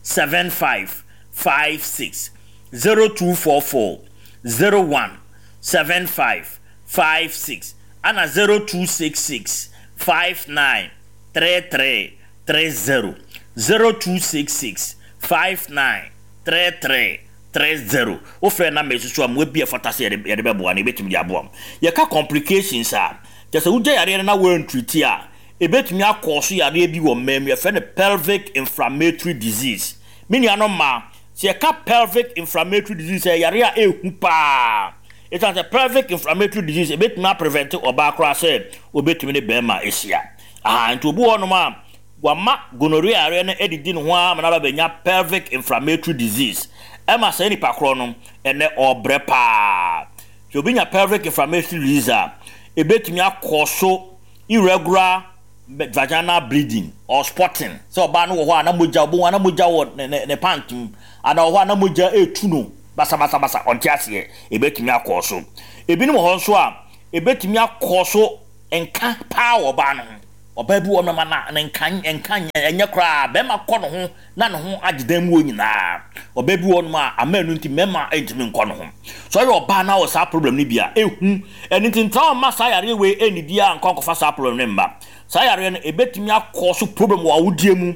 75 56, 0244 01 75 56, ana 0266 59 33 30, 0266 59 33 30. Wofrɛ numbers yi so a, mmoa bi a ɛfata sɛ yɛde bɛboa no, yɛbɛtumi de aboa wo. Yɛka complications a, Kyerɛ sɛ wogya yareɛ no na woantriti a, ɛbɛtumi akɔɔso yareɛ bi wɔ mmaa mu, yɛfrɛ no pelvic inflammatory disease. Me nuanom mmaa, sɛ yɛka pelvic inflammatory disease a, ɛyɛ yareɛ a ɛhu paa. Ɛsiane sɛ pelvic inflammatory disease ɛbɛtumi aprevɛnte ɔbaa koraa sɛ ɔbɛtumi ne barima ahyia. Aha, nti obi wɔ hɔnom a, wama gonorrhea yareɛ no adidi ne ho ara ma no aba bɛnya pelvic inflammatory disease. Ɛma saa nipa korɔ no, ɛnnɛ ɔrebrɛ paa. Sɛ obi nya pelvic inflammatory disease a, ebetumi akɔ so Irregular vaginal bleeding or spotting, sɛ ɔbaa no wɔ hɔ a na mogya, ɔbɛhu a na mogya wɔ ne ne ne pant mu, anaa ɔwɔ hɔ a na mogya retu no basabasabasa, ɔnte aseɛ, ɛbɛtumi akɔ so. Ebinom wɔ hɔ nso a, ɛbɛtumi akɔ so nka paa wɔ ɔbaa no ho. Ɔbaa bi wɔ hɔ nom a na ne nka nka nyɛ koraa, bɛrima kɔ ne ho na ne ho agye dan mu hɔ nyinaa. Ɔbaa bi wɔ hɔnom a, ama ɛno nti mmarima ntumi nkɔ ne ho. Sɛ ɔyɛ ɔbaa na ɔwɔ saa problem no bi a, ehu. Ɛno nti ntra hɔ mma saa yareɛ wei nnidi ara nkɔ nkɔfa saa problem no mma. Saa yareɛ no, ɛbɛtumi akɔ so problem wɔ awodeɛ mu,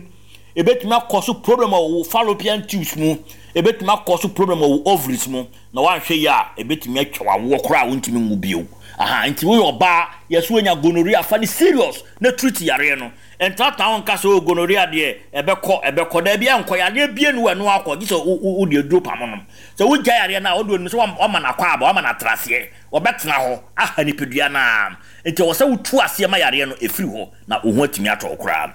ɛbɛtumi akɔ so problem wɔ wo fallopian tubes mu, ɛbɛtumi akɔ so problem wɔ wo ovaries mu, na woanhwɛ yie a, ɛbɛtumi atwa w'awoɔ koraa a wontumi nwo bio. Aha, nti woyɛ ɔbaa, yɛse woanya gonorrhea, fa no serious na treat yareɛ no. Ntenatena ho nka sɛ, Oh, gonorrhea deɛ, ɛbɛkɔ, ɛbɛkɔ. Dabi, ɛnkɔ. Yareɛ biara nni hɔ a ɛno ara kɔ, gye sɛ wode aduro pamo no. Sɛ wogyae yareɛ no a, ɔno deɛ ɔnim sɛ woama no akwaaba, woama no atenaseɛ. Ɔbɛtena hɔ aha nipadua no ara. Enti ɛwɔ sɛ wotu aseɛ ma yareɛ no firi hɔ na wo ho atumi atɔ wo koraa.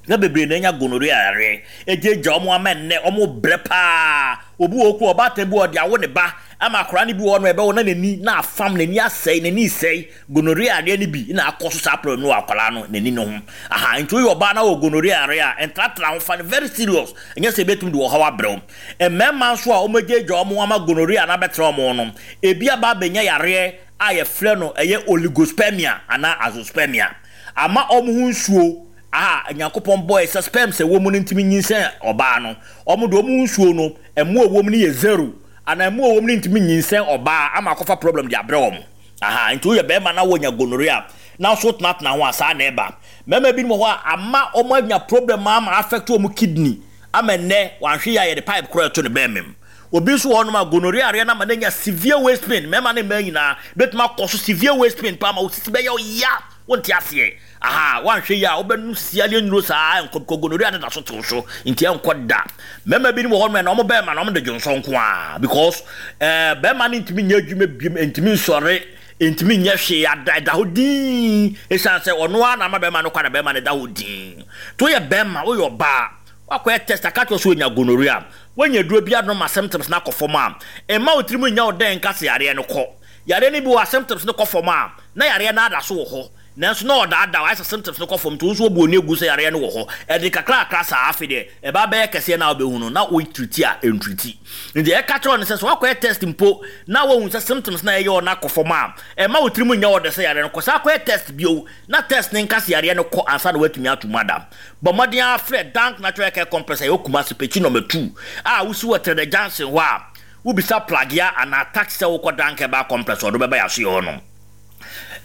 Nnipa bebree na anya gonorrhea yareɛ agyaagyaa wɔn ama ɛnnɛ wɔrebrɛ pa ara. Obi wɔ hɔ koraa, ɔbaatan bi wɔ hɔ, ɔde awo ne ba ama akwadaa no bi wɔ hɔ no, ɛbɛwo na n'ani na afam, n'ani asɛe, n'ani resɛe. Gonorrhea yareɛ no bi na akɔ so saa problem no wɔ akwadaa no n'ani no ho. Aha, nti woyɛ ɔbaa na wɔ gonorrhea yareɛ a, ntratra ho, fa no very serious, ɛnyɛ sɛ ɛbɛtumi de ɔhaw abrɛ wo. Mmarima nso a wɔagyaagyaa wɔn ama gonorrhea no abɛtena wɔn no, ebi aba abɛnya yareɛ a yɛfrɛ no ɛyɛ oligospermia anaa azoospermia. Ama wɔn ho nsuo a Nyankopɔn bɔeɛ sɛ sperms a ɛwɔ mu no ntumi nyinsɛn ɔbaa no, wɔn deɛ wɔn ho nsuo no, mmoa a ɛwɔ mu no yɛ zero, anaa mmoa a ɛwɔ mu no ntumi nyinsɛn ɔbaa ama akɔfa problem de abrɛ wɔn. Ahaa, nti woyɛ bɛrima na wonya gonorrhea na nso wotenatena ho a, saa na ɛba. Mmarima binom wɔ hɔ a, ama wɔanya problem ama affect wɔn kidney ama nnɛ wanhwɛ yie a yɛde pipe koraa ɛto ne bɛrima mu. Obi nso wɔ hɔnom a gonorrhea areɛ no ama no anya severe waist pain, mmarima ne mmaa nyinaa bɛtumi akɔ so severe waist pain paa ma wo sisi bɛyɛ wo ya, wonte aseɛ. Ahaa, woanhwɛ yie a wobɛnom sisi adeɛ nnuro saa ɛnkɔ because gonorrhea no da so te wo so nti ɛnkɔ da. Mmarima binom wɔ hɔnom a ɛnna wɔn bɛrima no wɔn de dwonsɔ nko ara because ɛɛ bɛrima no ntumi nyɛ adwuma biom, ntumi nsɔre, ntumi nyɛ hwee, ada ɛda hɔ dinn ɛsiane sɛ ɔno ara na ama bɛrima no kwan na bɛrima no da hɔ dinn. Nti woyɛ bɛrima, woyɛ ɔbaa, woakɔyɛ test aka kyerɛ wo sɛ woanya gonorrhea, woanya aduro bi anom ma symptoms no akɔ fam a, mma wo tirim nnya wo dɛn nka sɛ yareɛ no kɔ. Yareɛ no bi wɔ hɔ a symptoms no kɔ fam a, na yareɛ no ada so wɔ hɔ. Nanso na ɔdaadaa wo, ayɛ sɛ symptoms no kɔ fam nti wo nso wobu w'ani agu sɛ yareɛ no wɔ hɔ. Ɛde kakrakra saa, afei deɛ ɛba bɛyɛ kɛseɛ na wobɛhu no na wo treati a ɛntriti. Nti deɛ yɛka kyerɛ wo ne sɛ, sɛ woakɔyɛ test mpo na woahu sɛ symptoms no a ɛyɛ wo no akɔ fam a, mma wo tirim nnyɛ wo dɛ sɛ yareɛ no kɔ. San kɔyɛ test bio na test no nka sɛ yareɛ no kɔ ansa na woatumi ato mu ada. Bɔ mmɔden ara frɛ Dank Natural Care Complex a ɛwɔ Kumasi, Pekyi Nɔma 2 a wosi wɔ Trɛdɛ Junction hɔ a, wobisa Plagea anaa taxi sɛ wokɔ Dank Herbal Complex a ɔde wo bɛba yɛasoɛ hɔ nom.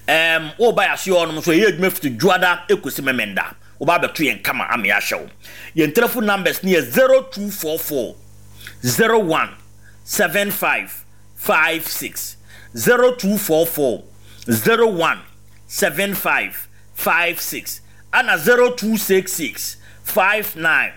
Ɛɛm, woba yɛn asoɛ hɔ nom nso, yɛyɛ adwuma fiti Dwoada kɔsi Memenda. Woba abɛto yɛn kama ama yɛahyɛ wo. Yɛn telephone numbers no yɛ 0244 01 75 56, 0244 01 75 56, ɛna 0266 59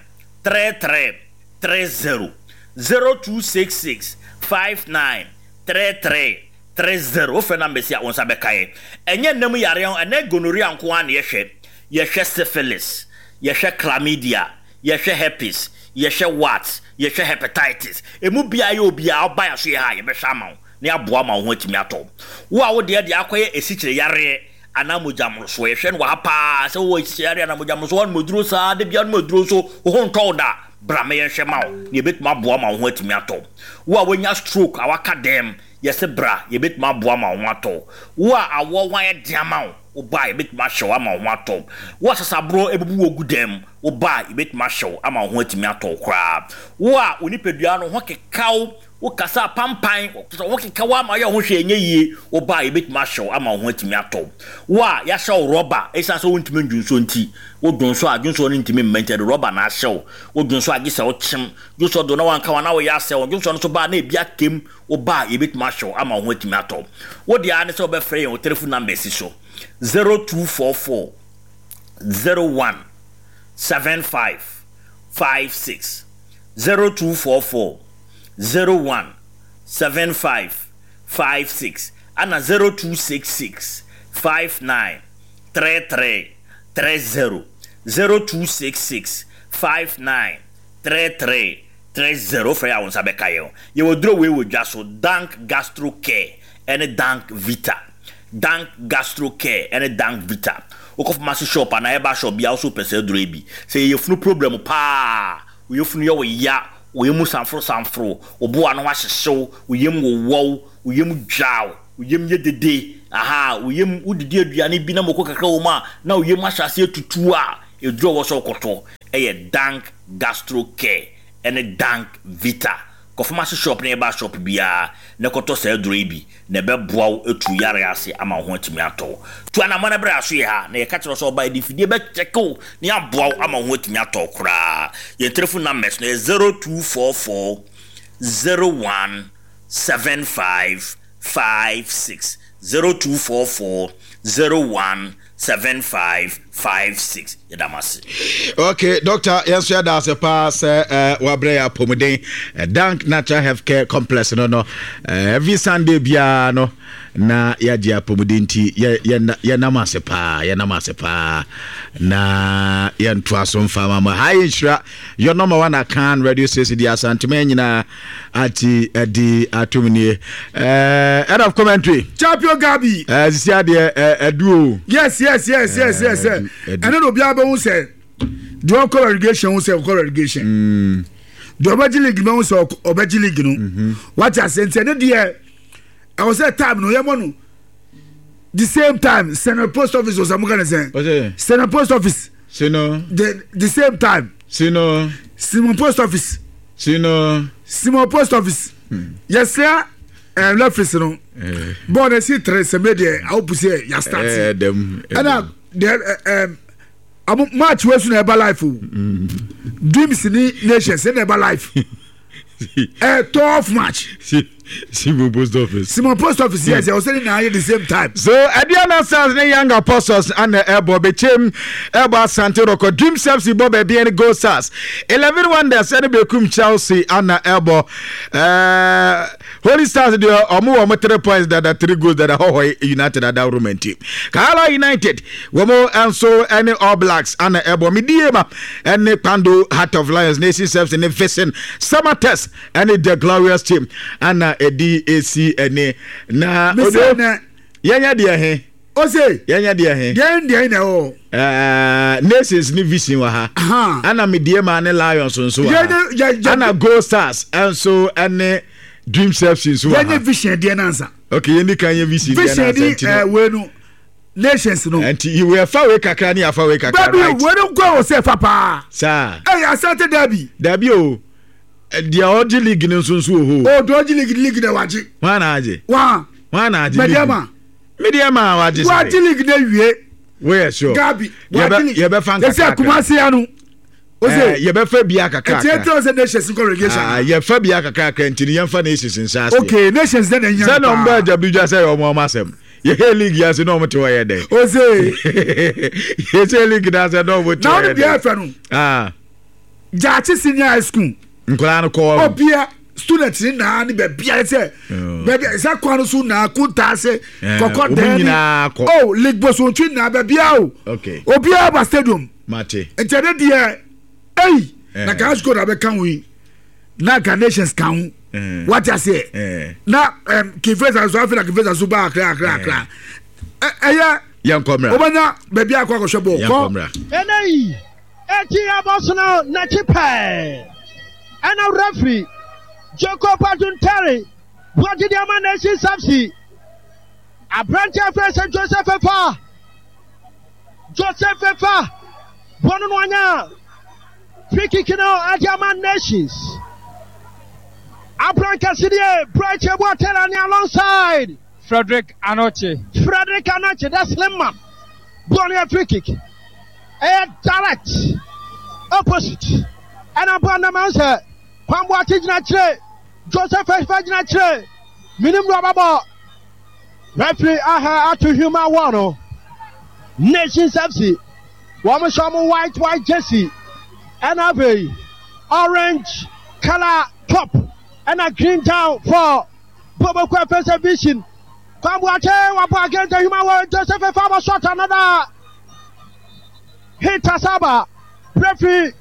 33 30, 0266 59 33 30, Wofrɛ numbers yi a, wo nsa bɛka yɛn. Ɛnyɛ nna mu yareɛ ho, ɛnnɛ gonorrhea nko ara na yɛhwɛ. Yɛhwɛ syphilis, yɛhwɛ chlamydia, yɛhwɛ herpes, yɛhwɛ warts, yɛhwɛ hepatitis. Ɛmu biara yɛ obiara, woba yɛn asoɛeɛ ha a, yɛbɛhwɛ ama wo na yɛaboa ma wo ho atumi atɔ wo. Wo a wo deɛ deɛ akɔyɛ asikyire yareɛ anaa mogya mmorosoɔ, yɛhwɛ no wɔ ha pa ara. Sɛ wowɔ asikyire yareɛ anaa mogya mmorosoɔ, woanom aduro saa, da biara wonom aduro nso wo ho ntɔ wo da a, bra ma yɛnhwɛ ma wo na yɛbɛtumi aboa ma wo ho atumi atɔ wo. Wo a woanya stroke a woaka dɛm, Yɛse bra, yɛbɛtumi aboa ma wo ho atɔ wo. Wo a awɔ ho ayɛ den ama wo, wo ba a, yɛbɛtumi ahyɛ wo ama wo ho atɔ wo. Wo a sasaborɔ abubu wo agu dan mu, wo ba a, yɛbɛtumi ahyɛ wo ama wo ho atumi atɔ wo koraa. Wo a wo nipadua no ho keka wo, wo kasa apampan, kyerɛ sɛ wo ho keka wo ama woyɛ wo ho hwee nyɛ yie, wo ba a, yɛbɛtumi ahyɛ wo ama wo ho atumi atɔ wo. Wo a yɛahyɛ wo rɔba ɛsiane sɛ wontumi ndwonsɔ nti, wo dwonsɔ a, dwonsɔ no ntumi mma nti yɛde rɔba na ahyɛ wo. Wo dwonsɔ a gye sɛ wokyem, dwonsɔ do na wanka wo a na woyɛ asɛe wo, dwonsɔ no nso ba a na ebi akam, Wo ba a, yɛbɛtumi ahwɛ wo ama wo ho atumi atɔ wo. Wo deɛ ara ne sɛ wobɛfrɛ yɛn wɔ telefon numbers yi so, 0244 01 75 56, 0244 01 75 56, ɛna 0266 59 33 30, 0266 59 33 30 Wofrɛ yɛ a wo nsa bɛka yɛn. Yɛwɔ duro wei wɔ dwa so, Dank Gastro Care ɛne Dank Vita. Dank Gastro Care ɛne Dank Vita. Wokɔ pharmacy shop anaa herbal shop biara wo so wopɛ saa aduro yi bi. Sɛ ɛyɛ yafunu problem paa, wo yafunu yɛ wo ya, wo yam sanforo sanforo, wo bo ano ahyehye wo, wo yam wowɔ wo, wo yam dwa wo, wo yam yɛ dede, ahaa, wo yam, wodidi aduane bi na mako kakra wɔ mu a, na wo yam ahyɛ aseɛ tutu a, aduro a ɛwɔ sɛ wokɔtɔ yɛ Dank Gastro Care ne Dank Vita. Kɔ pharmacy shop ne herbal shop biara na kɔtɔ saa aduro yi bi na ɛbɛboa wo atu yareɛ ase ama wo ho atumi atɔ wo. Tu anammɔn na brɛ asoyɛ ha na yɛka kyerɛ wo sɛ ɔba yɛde mfidie bɛkyɛke wo na yɛaboa wo ama wo ho atumi atɔ wo koraa. Yɛn telephone numbers no yɛ 0244 01 75 56, 0244 01 75 56. Yɛda mo ase. Okay, doctor, yɛn nso yɛda ase paa sɛ eh, wabrɛ yɛ apɔmuden eh, Dank Natural Healthcare Complex no no eh, every Sunday biara no na yɛagye apɔmuden nti yɛnam ase paa yɛnam ase paa na yɛntoa so mfa ma ma ha yɛ nhyira your number one Akan radio station di Asantema nyinaa ati ɛdi atum nie ɛɛ end of commentary. Champion Gabi. ɛɛ sisi adeɛ ɛɛ ɛdu o. Yes yes yes yes yes ɛne na obiara bɛ ho sɛ deɛ ɔkɔ relegation ho sɛ ɔkɔ relegation mm. deɛ ɔbɛgye league no ho sɛ ɔbɛgye league no mm-hmm. wate ase nti ɛne deɛ ɛwɔ sɛ time no yɛmɔ no the same time sɛnɛ post office ɔsɛ mo ka ne sɛn sɛnɛ post office. Sino. The the same time. Sino. Simon post office. Sino. Simon post office. Hmm. Yɛsrɛ ɛɛ eh, referees no. Eh. Bɔɔl na esi tere sɛmɛ deɛ awo pusi yɛ ya start. Ɛɛ eh, dɛm. Ɛna deɛ ɛɛ ɛɛ ɔmo match wei so na ɛba life o. Hmm. Dreams ni nations ɛna ɛba life. A tough match. Simon post office. Simon post office yes, I was saying now at the same time. So Aduana Stars ne Young Apostles and Ebo Bechem Ebo Asante Roko Dreams FC bɔ baabi ne Gold Stars 11 Wonders ne Bekum Chelsea ana Ebo uh, Holy Stars deɛ ɔmo wɔ ɔmo 3 points dada 3 goals dada Hohoe United adaworo nti Kahala United wɔn nso ne All Blacks ana ɛbɔ Mediema ne Kpando Heart of Lions Nation Service ne Vision Samatex ne The Glorious Team ana ɛdi esi ɛne na odo yɛnyɛ deɛ he ose yɛnyɛ deɛ he deɛ deɛ na ɛwɔ ɛɛ Nations ne Vision wɔ ha ana Mediema ne Lions nso wɔ ha ana Gold Stars nso ne Dreams FC nso wɔ ha yɛnyɛ Vision deɛ nansa okay yɛn ni kan yɛ Vision deɛ nansa nti no Vision ni ɛɛ nations no. Nti yɛ fa wei kakra ne yɛafa wei kakra right. Dabi wei no nkɔ wɔ sɛ fa paa. Saa. Ɛyɛ Asante dabi. Dabi o deɛ ɔgye league no nso nso wɔ hɔ. O deɛ ɔgye league league na wagye. Hwan na agye. Wa. Hwan na agye league. Mediama. Mediama wagye sɛ. Wagye league na wie. Woyɛ sure. Gabi wagye league. Yɛbɛfa nkakra. Ɛsɛ Kumasi ano. Ose. Yɛbɛfa bia kakra. Ɛtiɛ tɛ sɛ nations nkɔ relegation. Ah yɛfa bia kakra kakra nti yɛnfa nations nhyɛ aseɛ. Okay nations dɛ na ɛnya. Sɛ na ɔmo bɛ agya bi dwa sɛ ɔmo ɔmo asɛm. Yɛhɛ league yi ase na ɔmo te hɔ yɛ dɛ. Ose. Yɛhyɛ league na ase na ɔmo te hɔ yɛ dɛ. Na ɔno deɛ ɛfɛ no. Ah. Gyaakye senior high school. Nkwadaa no kɔ hɔ. Obia student ni naa ni baabi ayɛ sɛ. Baabi sɛ kwan no so naa kuntaa se. Kɔkɔ dɛn ni. Oh league bosontwi naa baabi a o. Okay. Obia ba stadium. Mate. Nti ɛne deɛ eyi. Na kaa school na bɛka ho yi. Na ka nations ka ho. Eh. Wate aseɛ. Eh. Na um, Kinfesa nso afei na Kinfesa nso ba akra akra akra. Eh. Ɛyɛ. Yɛn kɔ mìíràn. Wobɛnya baabi akɔ akɔhwɛ bɔɔl. Yɛn kɔ mìíràn. Ɛnɛ yi, eti abɔsono n'akyi pɛɛ ɛna referee Jacob Aduntari wɔgye de ama Nations FC aberanteɛ afei sɛ Joseph Efa Joseph Efa bɔ no no anya Free kick no ɛde ama Nations. Abrankɛsedeɛ Bright Ebuatela ne alongside. Frederick Anokye. Frederick Anokye the slim man. Bɔɔl no yɛ free kick. Ɛyɛ direct opposite. Ɛna bɔɔl no ma sɛ Kwamboakye gyina kyerɛ Joseph Efa gyina kyerɛ Minim do ɔbɛbɔ. Referee aha ato human wɔ no. Nations FC. Wɔn hyɛ wɔn white white jersey ɛna afei orange colour top ɛna green down for Boboko Efese Vision. Kwambuate wabɔ against the human world Joseph Efabo shot another hit asaba. Referee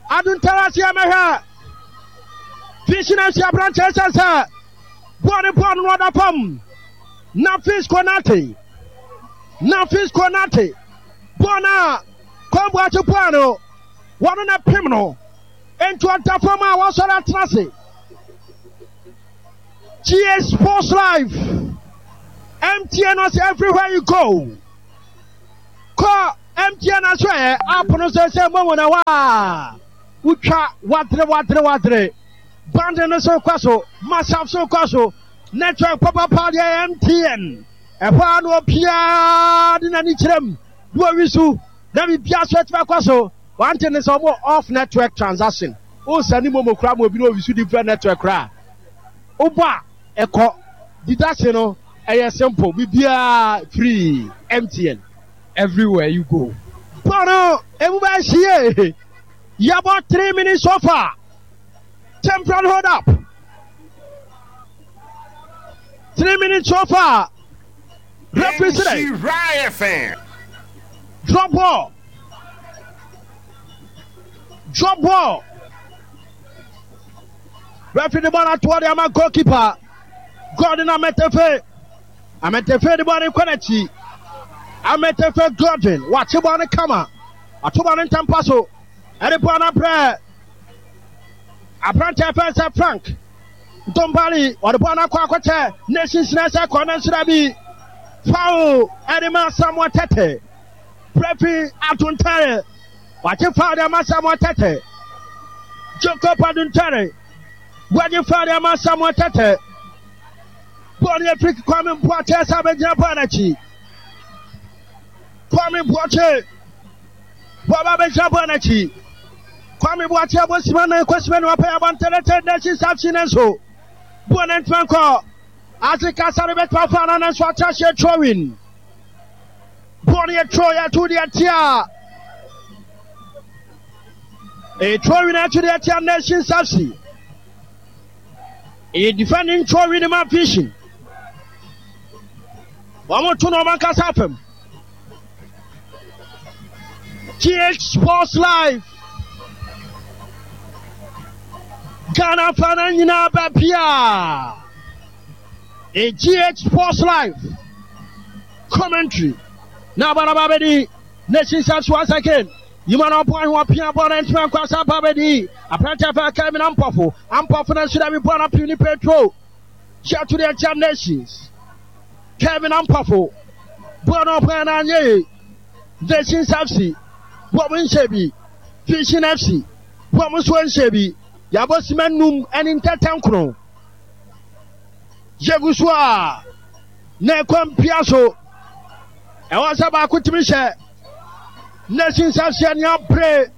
Aduntara si ɛmɛhwɛ Vision FC aberanteɛ sɛ sɛ bɔɔl ne bɔɔl no ɔda fam. Nafis Konate Nafis Konate. Bɔɔl no a Kwame Boakye bɔɔl no, wɔn na pem no. Enti ɔda fam a wɔsɔre atena ase. GA Sports Live. MTN ɔsɛ everywhere you go. Kɔ MTN aso ɛ app no sɛ sɛ momo na wa. Wotwa wadere wadere wadere. Band no so kɔ so, mashup so kɔ so. Network papapa deɛ MTN. Ɛhɔ ara na obiara de n'ani kyerɛ mu na owi so na biribiara so atumi akɔ so. One thing ne sɛ wɔn off network transaction. Wosane momo koraa ma obi na owi so different network koraa. Wobɔ a ɛkɔ. Deduction no ɛyɛ simple. Biribiara free. MTN. Everywhere you go. Bɔ no emu bɛyɛ hye yie. Yɛabɔ 3 minutes so far. Temporary hold up. 3 minutes so far. Referee sɛ. Drop ball. Drop ball. Referee de ball atoɔ de ama goalkeeper. Gordon Ametefe. Ametefe de ball no kɔ n'akyi. Ametefe Gordon wakye ball no kama. Ato ball no ntampa so. Ɛde ball no abrɛ aberanteɛ fɛn sɛ Frank Ntombali. Ɔde ball no akɔ akɔkyɛ Nations na ɛsɛ kɔ ne nsra bi. Foul ɛde ma Samuel Tete. Referee Adontare. Wakye foul de ama Samuel Tete. Jacob Adontare. Wagye foul de ama Samuel Tete. Bɔɔl no yɛ free kick Kwame Boakye ɛsɛ abɛgyina bɔɔl n'akyi. Kwame Boakye bɔɔl abɛgyina bɔɔl n'akyi. Kwame Boakye abɔ sima nan kɔ sima no apɛ abɔntɛlɛtɛ n'akyi safsi ne nso. Bɔɔl no ntoma nkɔ. Ase kasa no bɛtuma fa no nanso atra hyɛ throwing. Bɔɔl no yɛ throw yɛ to deɛ tia. Ɛyɛ throwing ato deɛ tia Nations FC. Ɛyɛ defending throwing no ma Vision. Wɔn to no wɔn ankasa fam. GH Sports Live. Ghana fa no nyinaa baabiaa. GH Sports Live commentary. Na abaraba bɛdi Nations FC once again. Yima na ɔbɔ ahwɛ ɔpia bɔ na ntoma nkɔ asa ba bɛdi. Aberante fɛ Kevin Ampɔfo. Ampɔfo na nso dɛbi bɔ na pii ni Petro. Hyɛ to deɛ nkyɛn Nations. Kevin Ampɔfo. Bɔ na ɔbɔ na anyɛ yie. Nations FC. Bɔ mo nhyɛ bi. Vision FC. Bɔ mo nso nhyɛ bi. Yɛabɔ sima num ɛne ntɛtɛ nkron. Yɛgu so a na ɛkɔ mpia so. Ɛwɔ sɛ baako tumi hyɛ Nations FC ani abere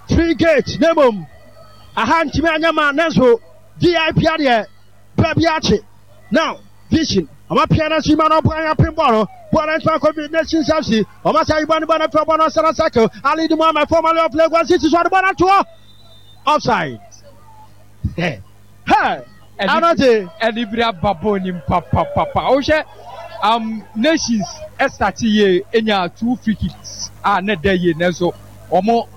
free gate na mmom aha ntumi anyɛ ma nanso VIP adeɛ baabi akye. Now Vision ɔma pia na so ima no ɔbɔ anya pin bɔɔl no bɔɔl no ntoma kɔ Nations FC ɔma sa ibɔ ne bɔ no fɛ bɔ no ɔsana circle Ali di Muhammad formerly of Lagos City so ɔde bɔ no atoɔ offside. Hey. Anɔte. Ɛde bere aba bɔɔl nim papapapa. Wohwɛ um, Nations ɛstate yie enya two free kicks a na ɛda yie nanso wɔn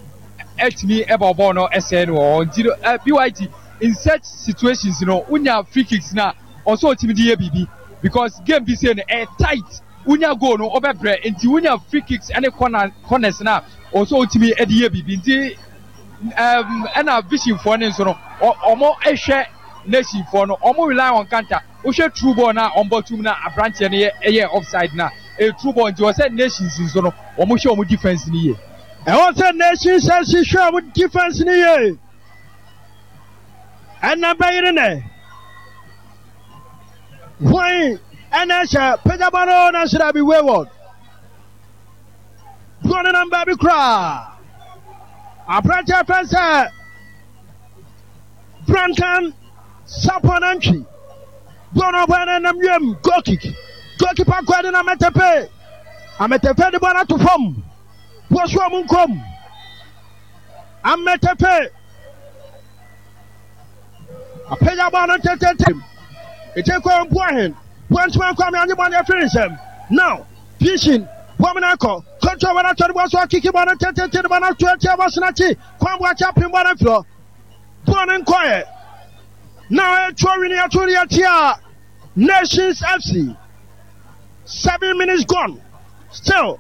ɛtumi ɛbɔ bɔɔl no ɛsɛɛ no wɔ hɔ nti no ɛ BYT in such situations no wonya free kicks na ɔsɛ ɔtumi de yɛ biribi because game bi sei no ɛyɛ tight wonya goal no ɔbɛbrɛ nti wonya free kicks ɛne corner corners na ɔsɛ ɔtumi ɛde yɛ biribi nti. Um, ɛna vision foɔ no nso no, wɔn hwɛ nation foɔ no, wɔn rely on counter. Wohwɛ true ball na wɔn bɔ tum na aberanteɛ no yɛ ɛyɛ offside na ɛyɛ true ball nti wɔ sɛ nations nso no, wɔn hwɛ wɔn defense no yie. Ɛwɔ sɛ nations nso hwɛ wɔn defense no yie. Ɛna bɛyere nɛ. Hwan ɛna ɛhyɛ pagyaba no na nso bi wayward. Borɔ no nam baabi koraa. Aberanteɛ fɛn sɛ Brankan Sapon Antwi. Borɔ no ɔbɔɛ no nam wiem goal kick. Goalkeeper kɔɛ de na Ametepe. Ametepe de bɔɔl no ato fam. Bɔ so ɔmo nkom. Ametepe. Apagya bɔɔl no ntɛntɛntɛm. Ɛkyɛ kɔ Mpuahen. Boantuma Kwame anye bɔɔl no afiri ne nsam. Now Vision bɔɔl no akɔ. Control bɔɔl no atɔ ne bɔɔl so akiki bɔɔl no ntɛntɛntɛm de bɔɔl no ato atia bɔɔl so n'akyi. Kwan Boakye apem bɔɔl no afiri hɔ. Bɔɔl no nkɔɛ. Now ɛtoɔ wini ato de atia Nations FC. 7 minutes gone. Still.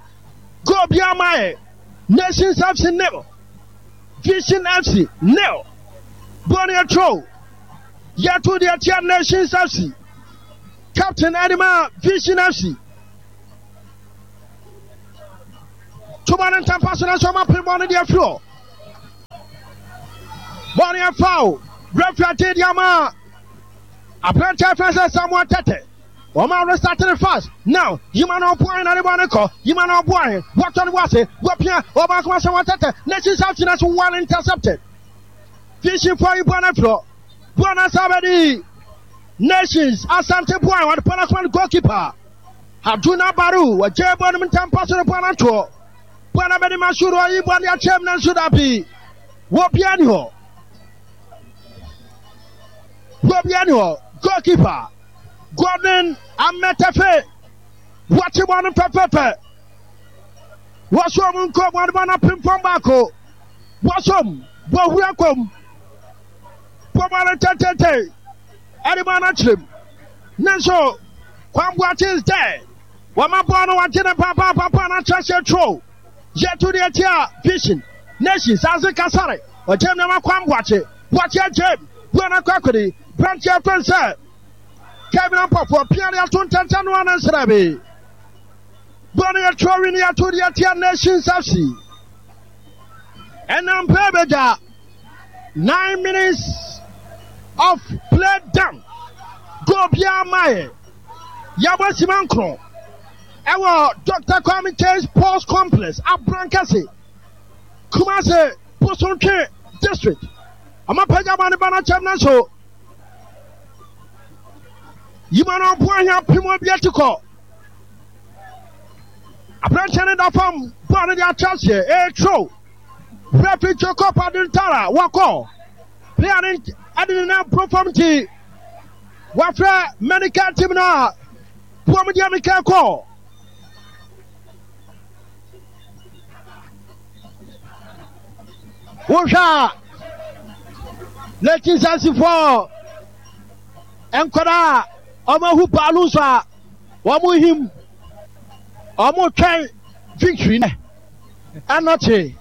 Goal biara ma yɛ. Nations FC nil. Vision FC nil. Bɔɔl no yɛ throw. Yɛto deɛ tia Nations FC. Captain ɛde ma Vision FC. Toba no ntampa so na nso ɔma pere bɔɔl no deɛ afiri hɔ. Bɔɔl no yɛ foul. Referee agye deɛ ama aberanteɛ fɛn sɛ Samuel Tete. Wɔn a restart no fast now. Yima na ɔboa na ne bɔ ne kɔ. Yima na ɔboa he. Wɔtɔ ne bo ase. Wɔpia. Ɔba akoma sɛ wɔtɛtɛ. Nations FC na so well intercepted. Vision for yi bɔ na frɔ. Bɔ na sabedi. Nations Asante boa wɔde bɔ na koma no goalkeeper. Haduna Baru wɔgye bɔ no ntampa so no bɔ na toɔ. Bɔ na bɛde Masuru ɔyi bɔ de akyɛm na nso dabi. Wɔbia ni hɔ. Wɔbia ni hɔ. Goalkeeper. Gordon Ametefe wɔkye bɔ no pɛpɛpɛ. Wɔsom nkom wɔde bɔ no apempɔn baako. Wɔsom bɔ hura kom. Bɔ bɔ no tɛntɛntɛn ɛde bɔ no akyerɛm. Ne nso Kwamboakye is there. Wɔma bɔɔl no wɔgye no papaapapa no akyerɛ sɛ tro. Yɛto deɛ tia Vision Nations ase Kasare. Ɔgyem nneɛma Kwamboakye. Boakye agyem. Bua no akɔ akɔdi. Branteɛ fɛn sɛ Kevin Ampɔfoɔ pia de ato ntɛntɛn no ano nsrɛ bi. Bɔɔl no yɛ throwing yɛto deɛ tia Nations FC. Ɛnam pɛ bɛgya 9 minutes of play done. Goal biara ma yɛ. Yɛabɔ sima nkron ɛwɔ Dr. Kwame Kyei Sports Complex Abrankɛse Kumase Bosontwe District. Ɔmapagya bɔ ne ba no akyɛm nanso yima no ɔbo ahia pem obi ati kɔ. Aberanteɛ no da fam bɔɔl no de akyɛ aseɛ ɛretro. Referee Jacob Adintara wakɔ. Player no ɛde ne nan boro fam nti wafrɛ medical team no a wɔn deɛ meka kɔ. Wohwɛ a 1974 nkwadaa a wɔahu baalu nso a wɔhim wɔtwɛn victory nɛ ɛnɔkye.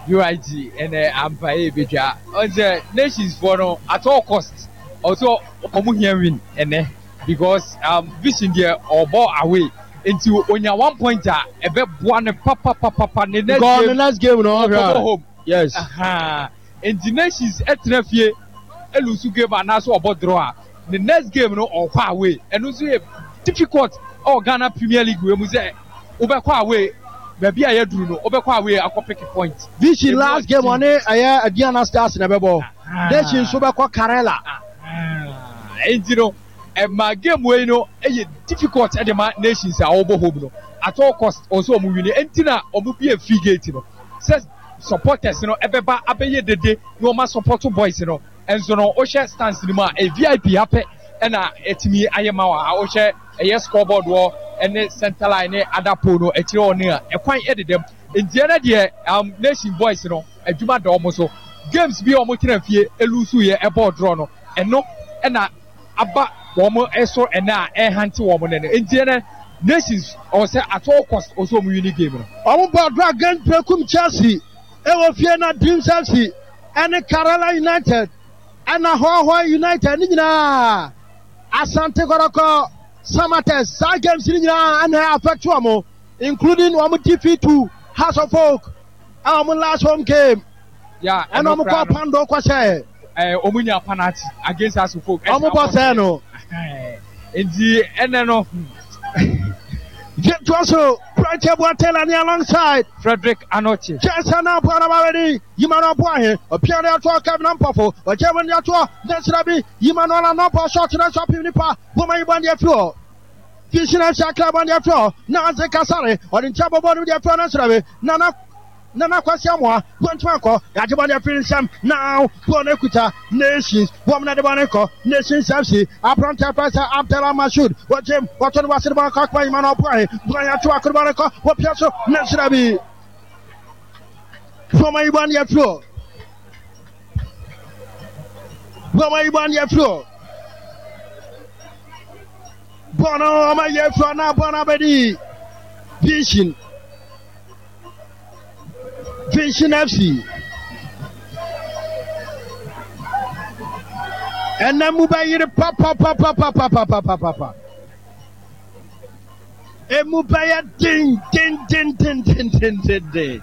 UIG ɛnɛ ampa yɛ ebedwa ɔn sɛ nations foɔ no at all cost ɔsɛ ɔmo hia win ɛnɛ because vision deɛ ɔbɔ away nti onya 1 point a ɛbɛboa ne papapapapa ne next Because game the next game no ɔkɔbɔ home. Yes. Nti nations ɛtena fie elusu game anaasɛ ɔbɔ draw a ne next game no ɔkɔ away ɛno nso yɛ difficult ɛwɔ Ghana Premier League wei mu sɛ wobɛkɔ away baabi a yɛduru no wobɛkɔ away akɔ pick point. Vision Emu last game ɔden. ɔne ɛyɛ Aduana Stars na ɛbɛbɔ. Nations nso bɛkɔ Karela. Nti no ɛma game wei no ɛyɛ difficult ɛde ma nations a wɔbɔ home no at all cost ɔsɛ wɔn win nti na wɔn bie free gate no sɛ supporters no ɛbɛba abɛyɛ dede na wɔn support boys no nso no wohwɛ stands no mu a ɛyɛ VIP apɛ ɛna ɛtumi ayɛ ma wɔ ha wohwɛ ɛyɛ scoreboard wɔ ɛne center line ne other pole no akyire hɔ no a ɛkwan ɛdedam nti ɛnɛ deɛ nation boys no adwuma da wɔn so games bi a wɔn tena fie elusu yɛ ɛbɔ draw no ɛno ɛna aba wɔn ɛso ɛna a ɛhante wɔn nene nti ɛnɛ nations ɔsɛ at all cost ɔsɛ wɔn win game no. Wɔn bɔ draw against Berekum Chelsea ɛwɔ fie na Dreams FC ɛne Karela United ɛna Hohoe United ne nyinaa Asante Kɔtɔkɔ Samatex saa games ne nyinaa ɛna affect wɔn including wɔn defeat to Hearts of Oak ɛwɔ wɔn last home game. Yeah, ɛna wɔn kɔ pando kɔ sɛ. Wɔn nya penalty against Hearts of Oak. Wɔn bɔ sɛ no. Nti ɛnɛ no. Yɛtoa so Branche Boateng ne alongside Frederick Anoche. Jessa na bɔ na bawedi yima na bɔ ahe ɔpia ne atoɔ Kevin Ampɔfo ɔgye wɔn de atoɔ ne nsira bi yima no ala nɔbɔ shot na nso apem nipa bɔma yi bɔ ne afiri hɔ. Vision FC akra bɔ ne afiri hɔ na Anze Kasare ɔde nkyɛn bɔbɔ no de afiri hɔ ne nsira bi Nana Nana Kwasi Amoah wɔntumi ankɔ yɛagye bɔ ne afiri nsɛm now bɔɔl no kuta Nations wɔm na de bɔ ne kɔ Nations FC aberante afɛ sɛ Abdallah Masud wɔgyem wɔto no wɔase de bɔ akɔ akoma yima na ɔboa he boa yɛato akoro bɔ ne kɔ wɔpia so ne nsira bi wɔma yi bɔ ne afiri hɔ wɔma yi bɔ ne afiri hɔ bɔɔl no ɔma yɛ afiri hɔ na bɔɔl no abɛdi Vision. Vision FC. Ɛnna mu bɛyere papapapapapapapapa. Emu bɛyɛ den den den den den den den den.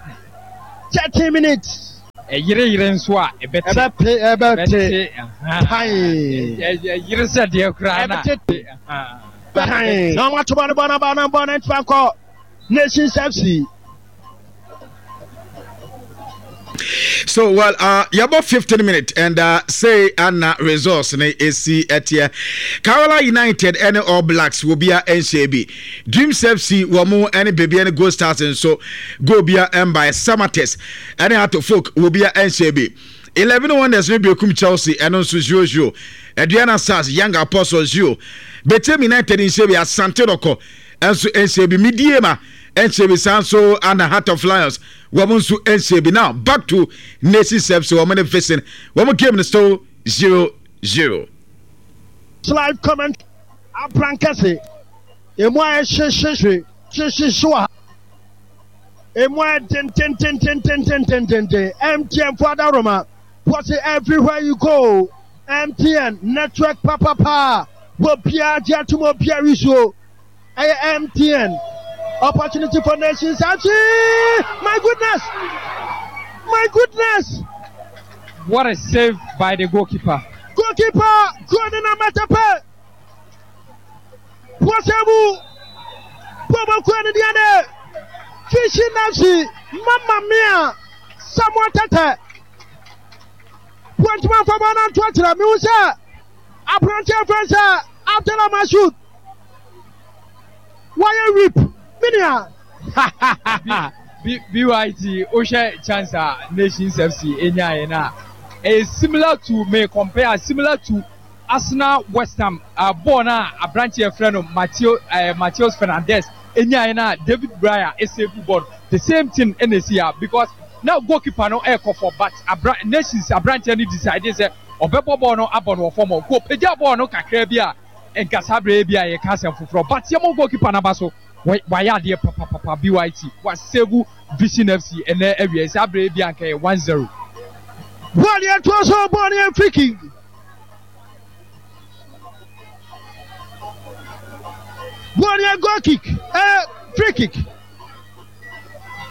30 minutes. Ɛyere yere nso a ɛbɛte. Ɛbɛpe ɛbɛte. Pan. Ɛyere sɛ deɛ koraa na. Ɛbɛte. Pan. Na wɔn ato bɔ no bɔ no bɔ no bɔ no ntoma nkɔ Nations FC. So well, yɛbɔ 15 minutes and say ana results ne esi ɛteɛ. Carola United ɛne All Blacks wɔ bia ɛnhyɛ bi. Dreams FC wɔ mo ɛne Bebi ɛne Gold Stars nso goal bia ɛmbae. Samatex ɛne Ato Folk wɔ bia ɛnhyɛ bi. 11 Wonders ne Bekum Chelsea ɛno nso 0-0. Aduana Stars Young Apostles 0. Bechem United nhyɛ bi. Asante Dɔkɔ nso nhyɛ bi. Midiema nhyɛ bi saa nso ana Heart of Lions wɔn nso nhyɛ bi. Now back to Nations FC wɔn ne Vision wɔn game no still 0-0. Live comment abrankɛse emu ayɛ hyehyehye hyehyehye wɔ ha emu ayɛ dendendendendendendenden MTN fo adaworoma wɔsi everywhere you go MTN network papapa wɔ biara gye atum obiara wisuo. Ɛyɛ MTN opportunity for nations akyi. My goodness! My goodness! What a save by the goalkeeper. Goalkeeper Gordon Ametepe. Wasabu. Bobo Kwani Diane. Fishy Nafsi. Mamma mia. Samuel Tete. Wantuma fama na nto akyerɛ mehu sɛ aberanteɛ fɛn sɛ Abdallah Masud Wayɛ rip me nua. BYT wohwɛ chance a Nations FC nyaeɛ no a ɛyɛ similar to me compare similar to Arsenal West Ham uh, bɔɔl no a aberanteɛ yɛfrɛ no Mateo uh, Mateus Fernandes nyaeɛ no a David Raya esave bɔɔl the same thing ɛna esi ya because na goalkeeper no ɛrekɔ fɔ but abra Nations aberanteɛ no decide sɛ ɔbɛbɔ bɔɔl no abɔ no wɔ fam hɔ nko pagya bɔɔl no kakra bi a Nka saa berɛ yi bi a yɛka asɛm foforɔ but yɛmɔ goalkeeper no aba so wayɛ adeɛ papapapa BYT wa save Vision FC ɛnɛ awia yi saa berɛ yi bi a nka yɛ 1-0. Bɔɔl yɛ toa so bɔɔl yɛ free kick. Bɔɔl yɛ goal kick eh, free kick.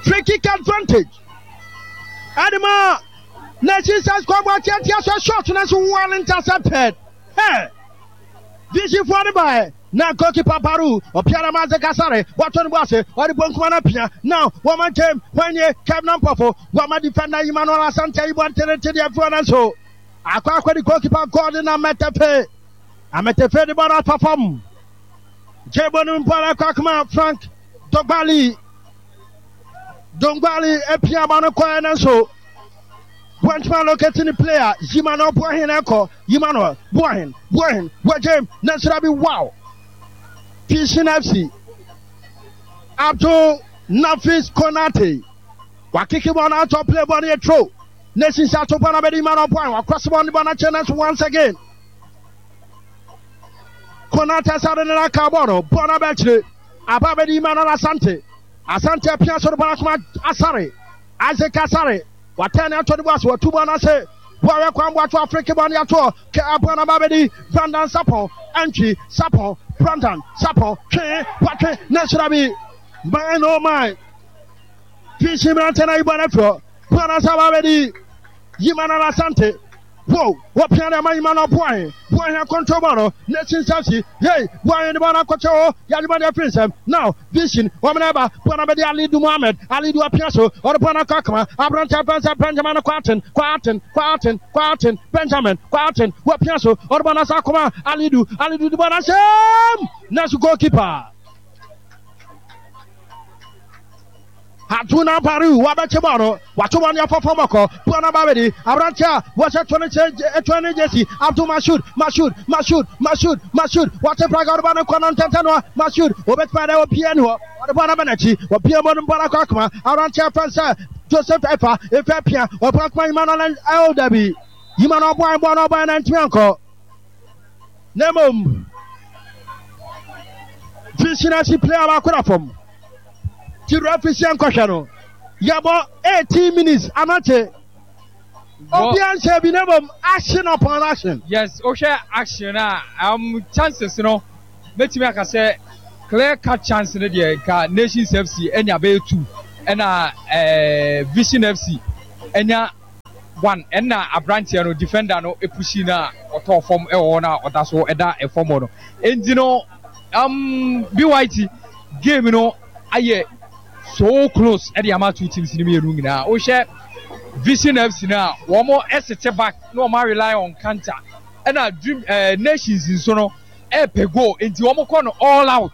Free kick advantage. Adema na Jesus kwabɔ atiatia so shot na so well intercepted. Hey! Visionfoɔ no baeɛ na goalkeeper Baru ɔpia na Maze Kasare wato ne bo ase ɔde bonkuma no apia na wɔma nkyɛm hwan nie Kevin Ampofo wɔma defender Emmanuel Asante ayi bɔ ntenete deɛ afi hɔ nanso akɔ akɔdi goalkeeper Gordon Ametefe Ametefe de bɔ no afa fam Jebo no mpo ara kɔ akoma Frank Dogbali Dongbali apia bɔ no kɔɛ nanso Wɔntumi allocate ne player Yima na ɔboa hen ɛkɔ Yima no boa hen boa hen wɔgyem na nsira bi wow Fishin FC Abdul Nafis Konate wakeke bɔ na atɔ play bɔ no yɛ throw na sisi ato bɔ na bɛde Yima na ɔboa hen wakɔse bɔ ne bɔ na kyɛ nanso once again Konate sade ne na ka bɔ no bɔ na bɛkyerɛ aba bɛde Yima na Asante Asante apia so no bɔ na koma Asare Isaac Asare, watɛn ne ato ne bo ase, watu bɔ no ase. Boawɛ kwan boato Afriki bɔ ne atoɔ, kɛ aboa no aba abɛdi. Brandon Sapon, Antwi, Sapon, Brandon, Sapon, twe, watwe, ne nhyira bi. My oh my. Fishi mmerante na yi bɔ no afiri hɔ. Boa no ase aba abɛdi. Yimana Asante. Wow, wɔpia de ama Emmanuel Boahen. Boahen akɔntrol bɔɔl no, Nations FC, hey, Boahen de bɔɔl no akɔkyɛ hɔ, yɛagye bɔɔl de afiri nsam. Now, Vision, wɔn na ɛba, bɔɔl no abɛdi Alidu Mohammed, Alidu apia so, ɔde bɔɔl no akɔ akoma, aberante afɛn sɛ Benjamin Kwarteng, Kwarteng, Kwarteng, Kwarteng, Benjamin, Kwarteng, wɔapia so, ɔde bɔɔl no asa akoma, Alidu, Alidu de bɔɔl no ahyɛm, nanso goalkeeper. Aduna Baru wabɛkye bɔɔl no, wato bɔɔl no afa fam ɔkɔ. Bɔɔl no aba abɛdi aberante a wɔhyɛ 20 jersey Abdul Mashood, Mashood, Mashood, Mashood, Mashood, wate praga ɔde bɔɔl no kɔ no ntɛntɛn no Mashood, obetumi ayɛ dɛ obiara ni hɔ, ɔde bɔɔl no aba n'akyi, wɔpia mu no bɔɔl akɔ akoma aberante a fɛn sɛ Joseph Efa, Efa pia, ɔbɔ akoma Emmanuel ɛo dabi, Emmanuel ɔbɔ bɔɔl no ɔbɔ na ntumi ankɔ. Na mmom, Vision FC player baako da fam. Ti referee sɛ nkɔhwɛ no. Yɛbɔ 18 minutes anakye. Obia nhyɛ bi na mmom action upon action. Yes, wohwɛ action a um, chances no mɛtumi aka sɛ clear cut chance no deɛ nka Nations FC anya bɛyɛ two ɛna eh, Vision FC anya one ɛna aberanteɛ no defender no epushi no a ɔtɔɔ fam ɛwɔ hɔ no a ɔda so ɛda ɛfam hɔ no enti no um, BYT game no ayɛ so close ɛde ama two teams no mmienu nyinaa. Wohwɛ Vision FC no a, wɔn ɛsete back na wɔn rely on counter. Ɛna Dream ɛɛ eh, Nations nso no ɛɛpɛ goal nti wɔn kɔ no all out.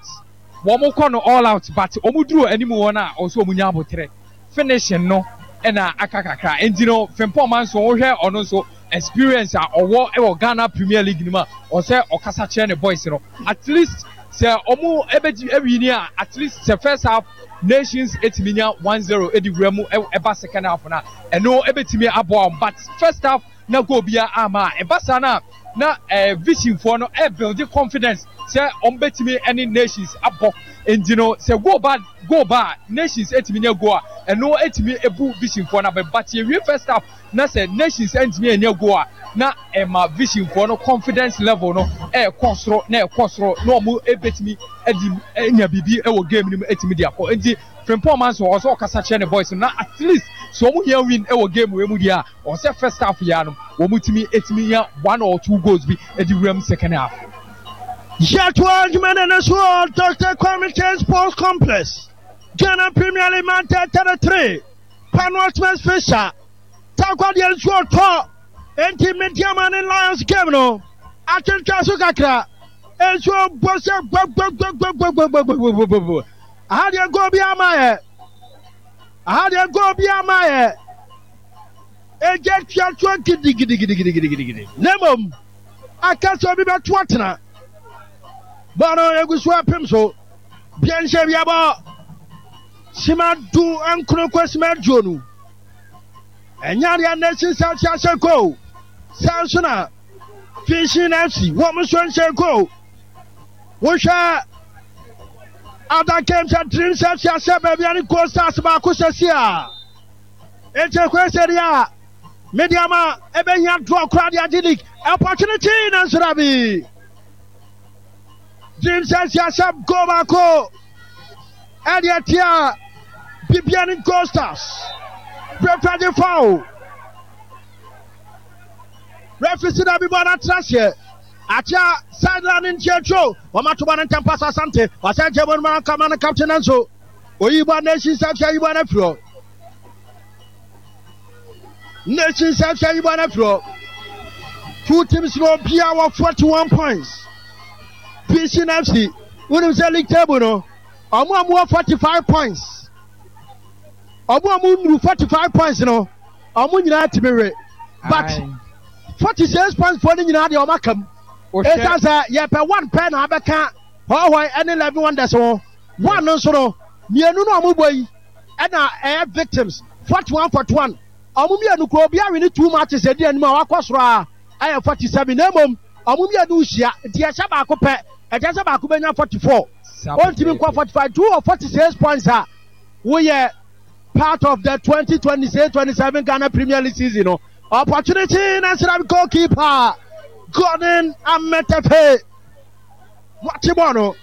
Wɔn kɔ no all out but wɔn duru anim hɔ no a ɔsɛ wɔn nya abotrɛ. Finishing no ɛna aka kakra nti no Frimpong Manso wohwɛ ɔno nso experience a ɔwɔ wɔ Ghana Premier League no mu a ɔsɛ ɔkasa kyerɛ ne boys no at least sɛ ɔmo ɛbɛgye ɛwini a at least sɛ first half Nations ɛtumi nya 1-0 ɛde wura mu ɛba second half no a ɛno ɛbɛtumi aboa wɔn but first half na goal biara amma a ɛba saa no a na eh, Vision foɔ no ɛbuild confidence sɛ wɔn bɛtumi ɛne Nations abɔ nti no sɛ goal ba goal ba a Nations ɛtumi nya goal a ɛno ɛtumi ɛbu Vision foɔ no abɛ but yɛwie first half na sɛ Nations antumi annya goal a, na ɛma Vision foɔ no confidence level no ɛrekɔ soro na ɛkɔ soro na wɔn ɛbɛtumi adi anya biribi wɔ game no mu ɛtumi de akɔ. Nti Frimpong Manso ɔwɔ sɛ ɔkasa kyerɛ ne boys no na at least sɛ wɔn hia win wɔ game wei mu deɛ a, ɔwɔ sɛ first half yi ara no wɔn tumi ɛtumi nya one or two goals bi ɛde wura mu second half. Yɛtoa adwuma no no so wɔ Dr. Kwame Kyei Sports Complex, Ghana Premier League Match 33. Panortmas Fisher Tarkwa deɛ nsuo tɔ enti Medeama ne Lions game no atwentwɛn so kakra. Nsuo bɔ sɛ gbɔgbɔgbɔgbɔgbɔgbɔgbɔgbɔgbɔ. Aha deɛ goal bi ama yɛ. Aha deɛ goal bi ama yɛ. Egya tuatua gidigidigidigidigidi. Na mmom aka sɛ obi bɛto atena. Bɔɔl no egu so apem so. Bia nhyɛ bi abɔ. Sima du nkono kɔ sima aduonu. Ɛnyɛ adeɛ a Nations FC ahyɛ goal. Saa nso na Vision FC wɔn nso nhyɛ goal. Wohwɛ other games a Dreams FC ahyɛ baabi a ne Gold Stars baako sɛsi a. Enti ɛkɔyɛ sɛ deɛ a Medeama ɛbɛhia draw koraa de agye league. Opportunity nanso dabi. Dreams FC ahyɛ goal baako. Ɛde atia Bibiani Gold Stars. Referee de foul. Referee si na bibɔ na tra seɛ. Akyea sideline ne nkyɛntwo. Wɔn ato bɔ ne ntɛm pass Asante. Wasan kyɛ bɔ no ma kama no captain nanso. Oyi bɔ Nations FC ayi bɔ no afiri hɔ. Nations FC ayi bɔ no afiri hɔ. Two teams no obiara wɔ 41 points. Vision FC wonim sɛ league table no ɔmo a ɔmo wɔ 45 points ɔmo a ɔmo nnuru 45 points no ɔmo nyinaa tumi we but 46 points foɔ no nyinaa deɛ ɔmo aka mu ɛsan sɛ yɛpɛ one pɛ na abɛka hɔhɔe ɛne 11 wonders ho one no nso no mmienu no ɔmo bɔ yi ɛna ɛyɛ victims 41 41 ɔmo mmienu kuro obi awe ne two matches ɛdi anim a wakɔ soro a ɛyɛ 47 na mmom Wɔn mmienu rehyia, nti yɛhyɛ baako pɛ, ɛkyerɛ sɛ baako bɛnya 44. Ɔntumi nkɔ 45. Nti wowɔ 46 points a, woyɛ part of the 2026-27 Ghana Premier League season no. Opportunity na nsira goalkeeper Gordon Ametefe. Wɔte bɔɔl no.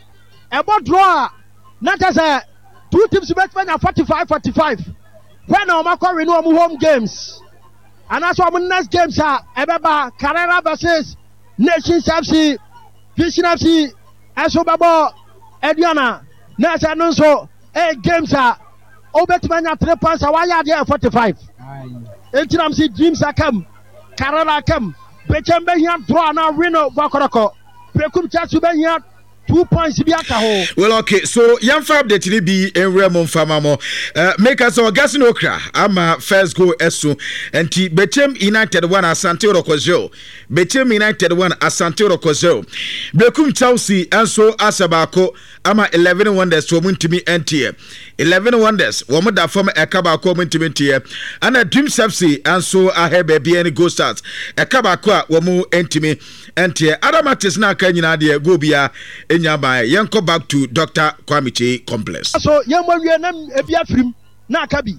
Ɛbɔ draw a, na kyerɛ sɛ two teams bɛtumi anya 45 45. Hwɛ na wɔn akɔ win wɔn home games. Anaasɛ wɔn next games a ɛbɛba Carrera versus Nations FC, Vision FC ɛso bɛbɔ Aduana na ɛsɛ no nso ɛyɛ games a wobɛtumi anya 3 points a wayɛ adeɛ yɛ 45 enti nam si Dreams akam Carrera akam Bechem bɛhia draw anaa win bɔkɔrɔkɔ Bekum Chelsea bɛhia 2 points bi aka ho. Well okay so yɛmfa update no bi nwura mu mfa ma mo. Uh, meka sɛ Augustine Okra ama first goal ɛso nti Bechem United 1 Asante Orɔkɔ 0 Bechem United 1 Asante Orɔkɔ 0 Bekum Chelsea nso ahyɛ baako ama 11 Wonders wɔn ntumi nteɛ 11 Wonders wɔn da fam ɛka baako wɔn ntumi nteɛ ɛna Dreams FC nso ahɛ baabi ɛne Gold Stars ɛka baako a wɔn ntumi Ɛnteɛ other matches na aka nyinaa deɛ goal biara ɛnya baeɛ. Yɛnkɔ back to Doctor Kwame Kyei complex. So yɛmmɔ wie na ebi afirim na aka bi.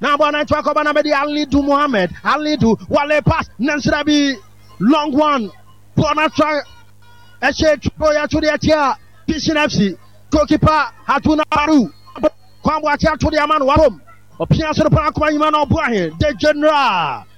Na bɔ na nto akɔba na bɛde Alidu Mohammed. Alidu wale pass nansira bi long one. Bɔ na tra ɛhyɛ twɛ yɛ to de akyia Vision FC. Goalkeeper Haruna Baru. Kwan Boakye ato de ama no wabom. Ɔpia soro paa akoma nyima na ɔboa he. The General.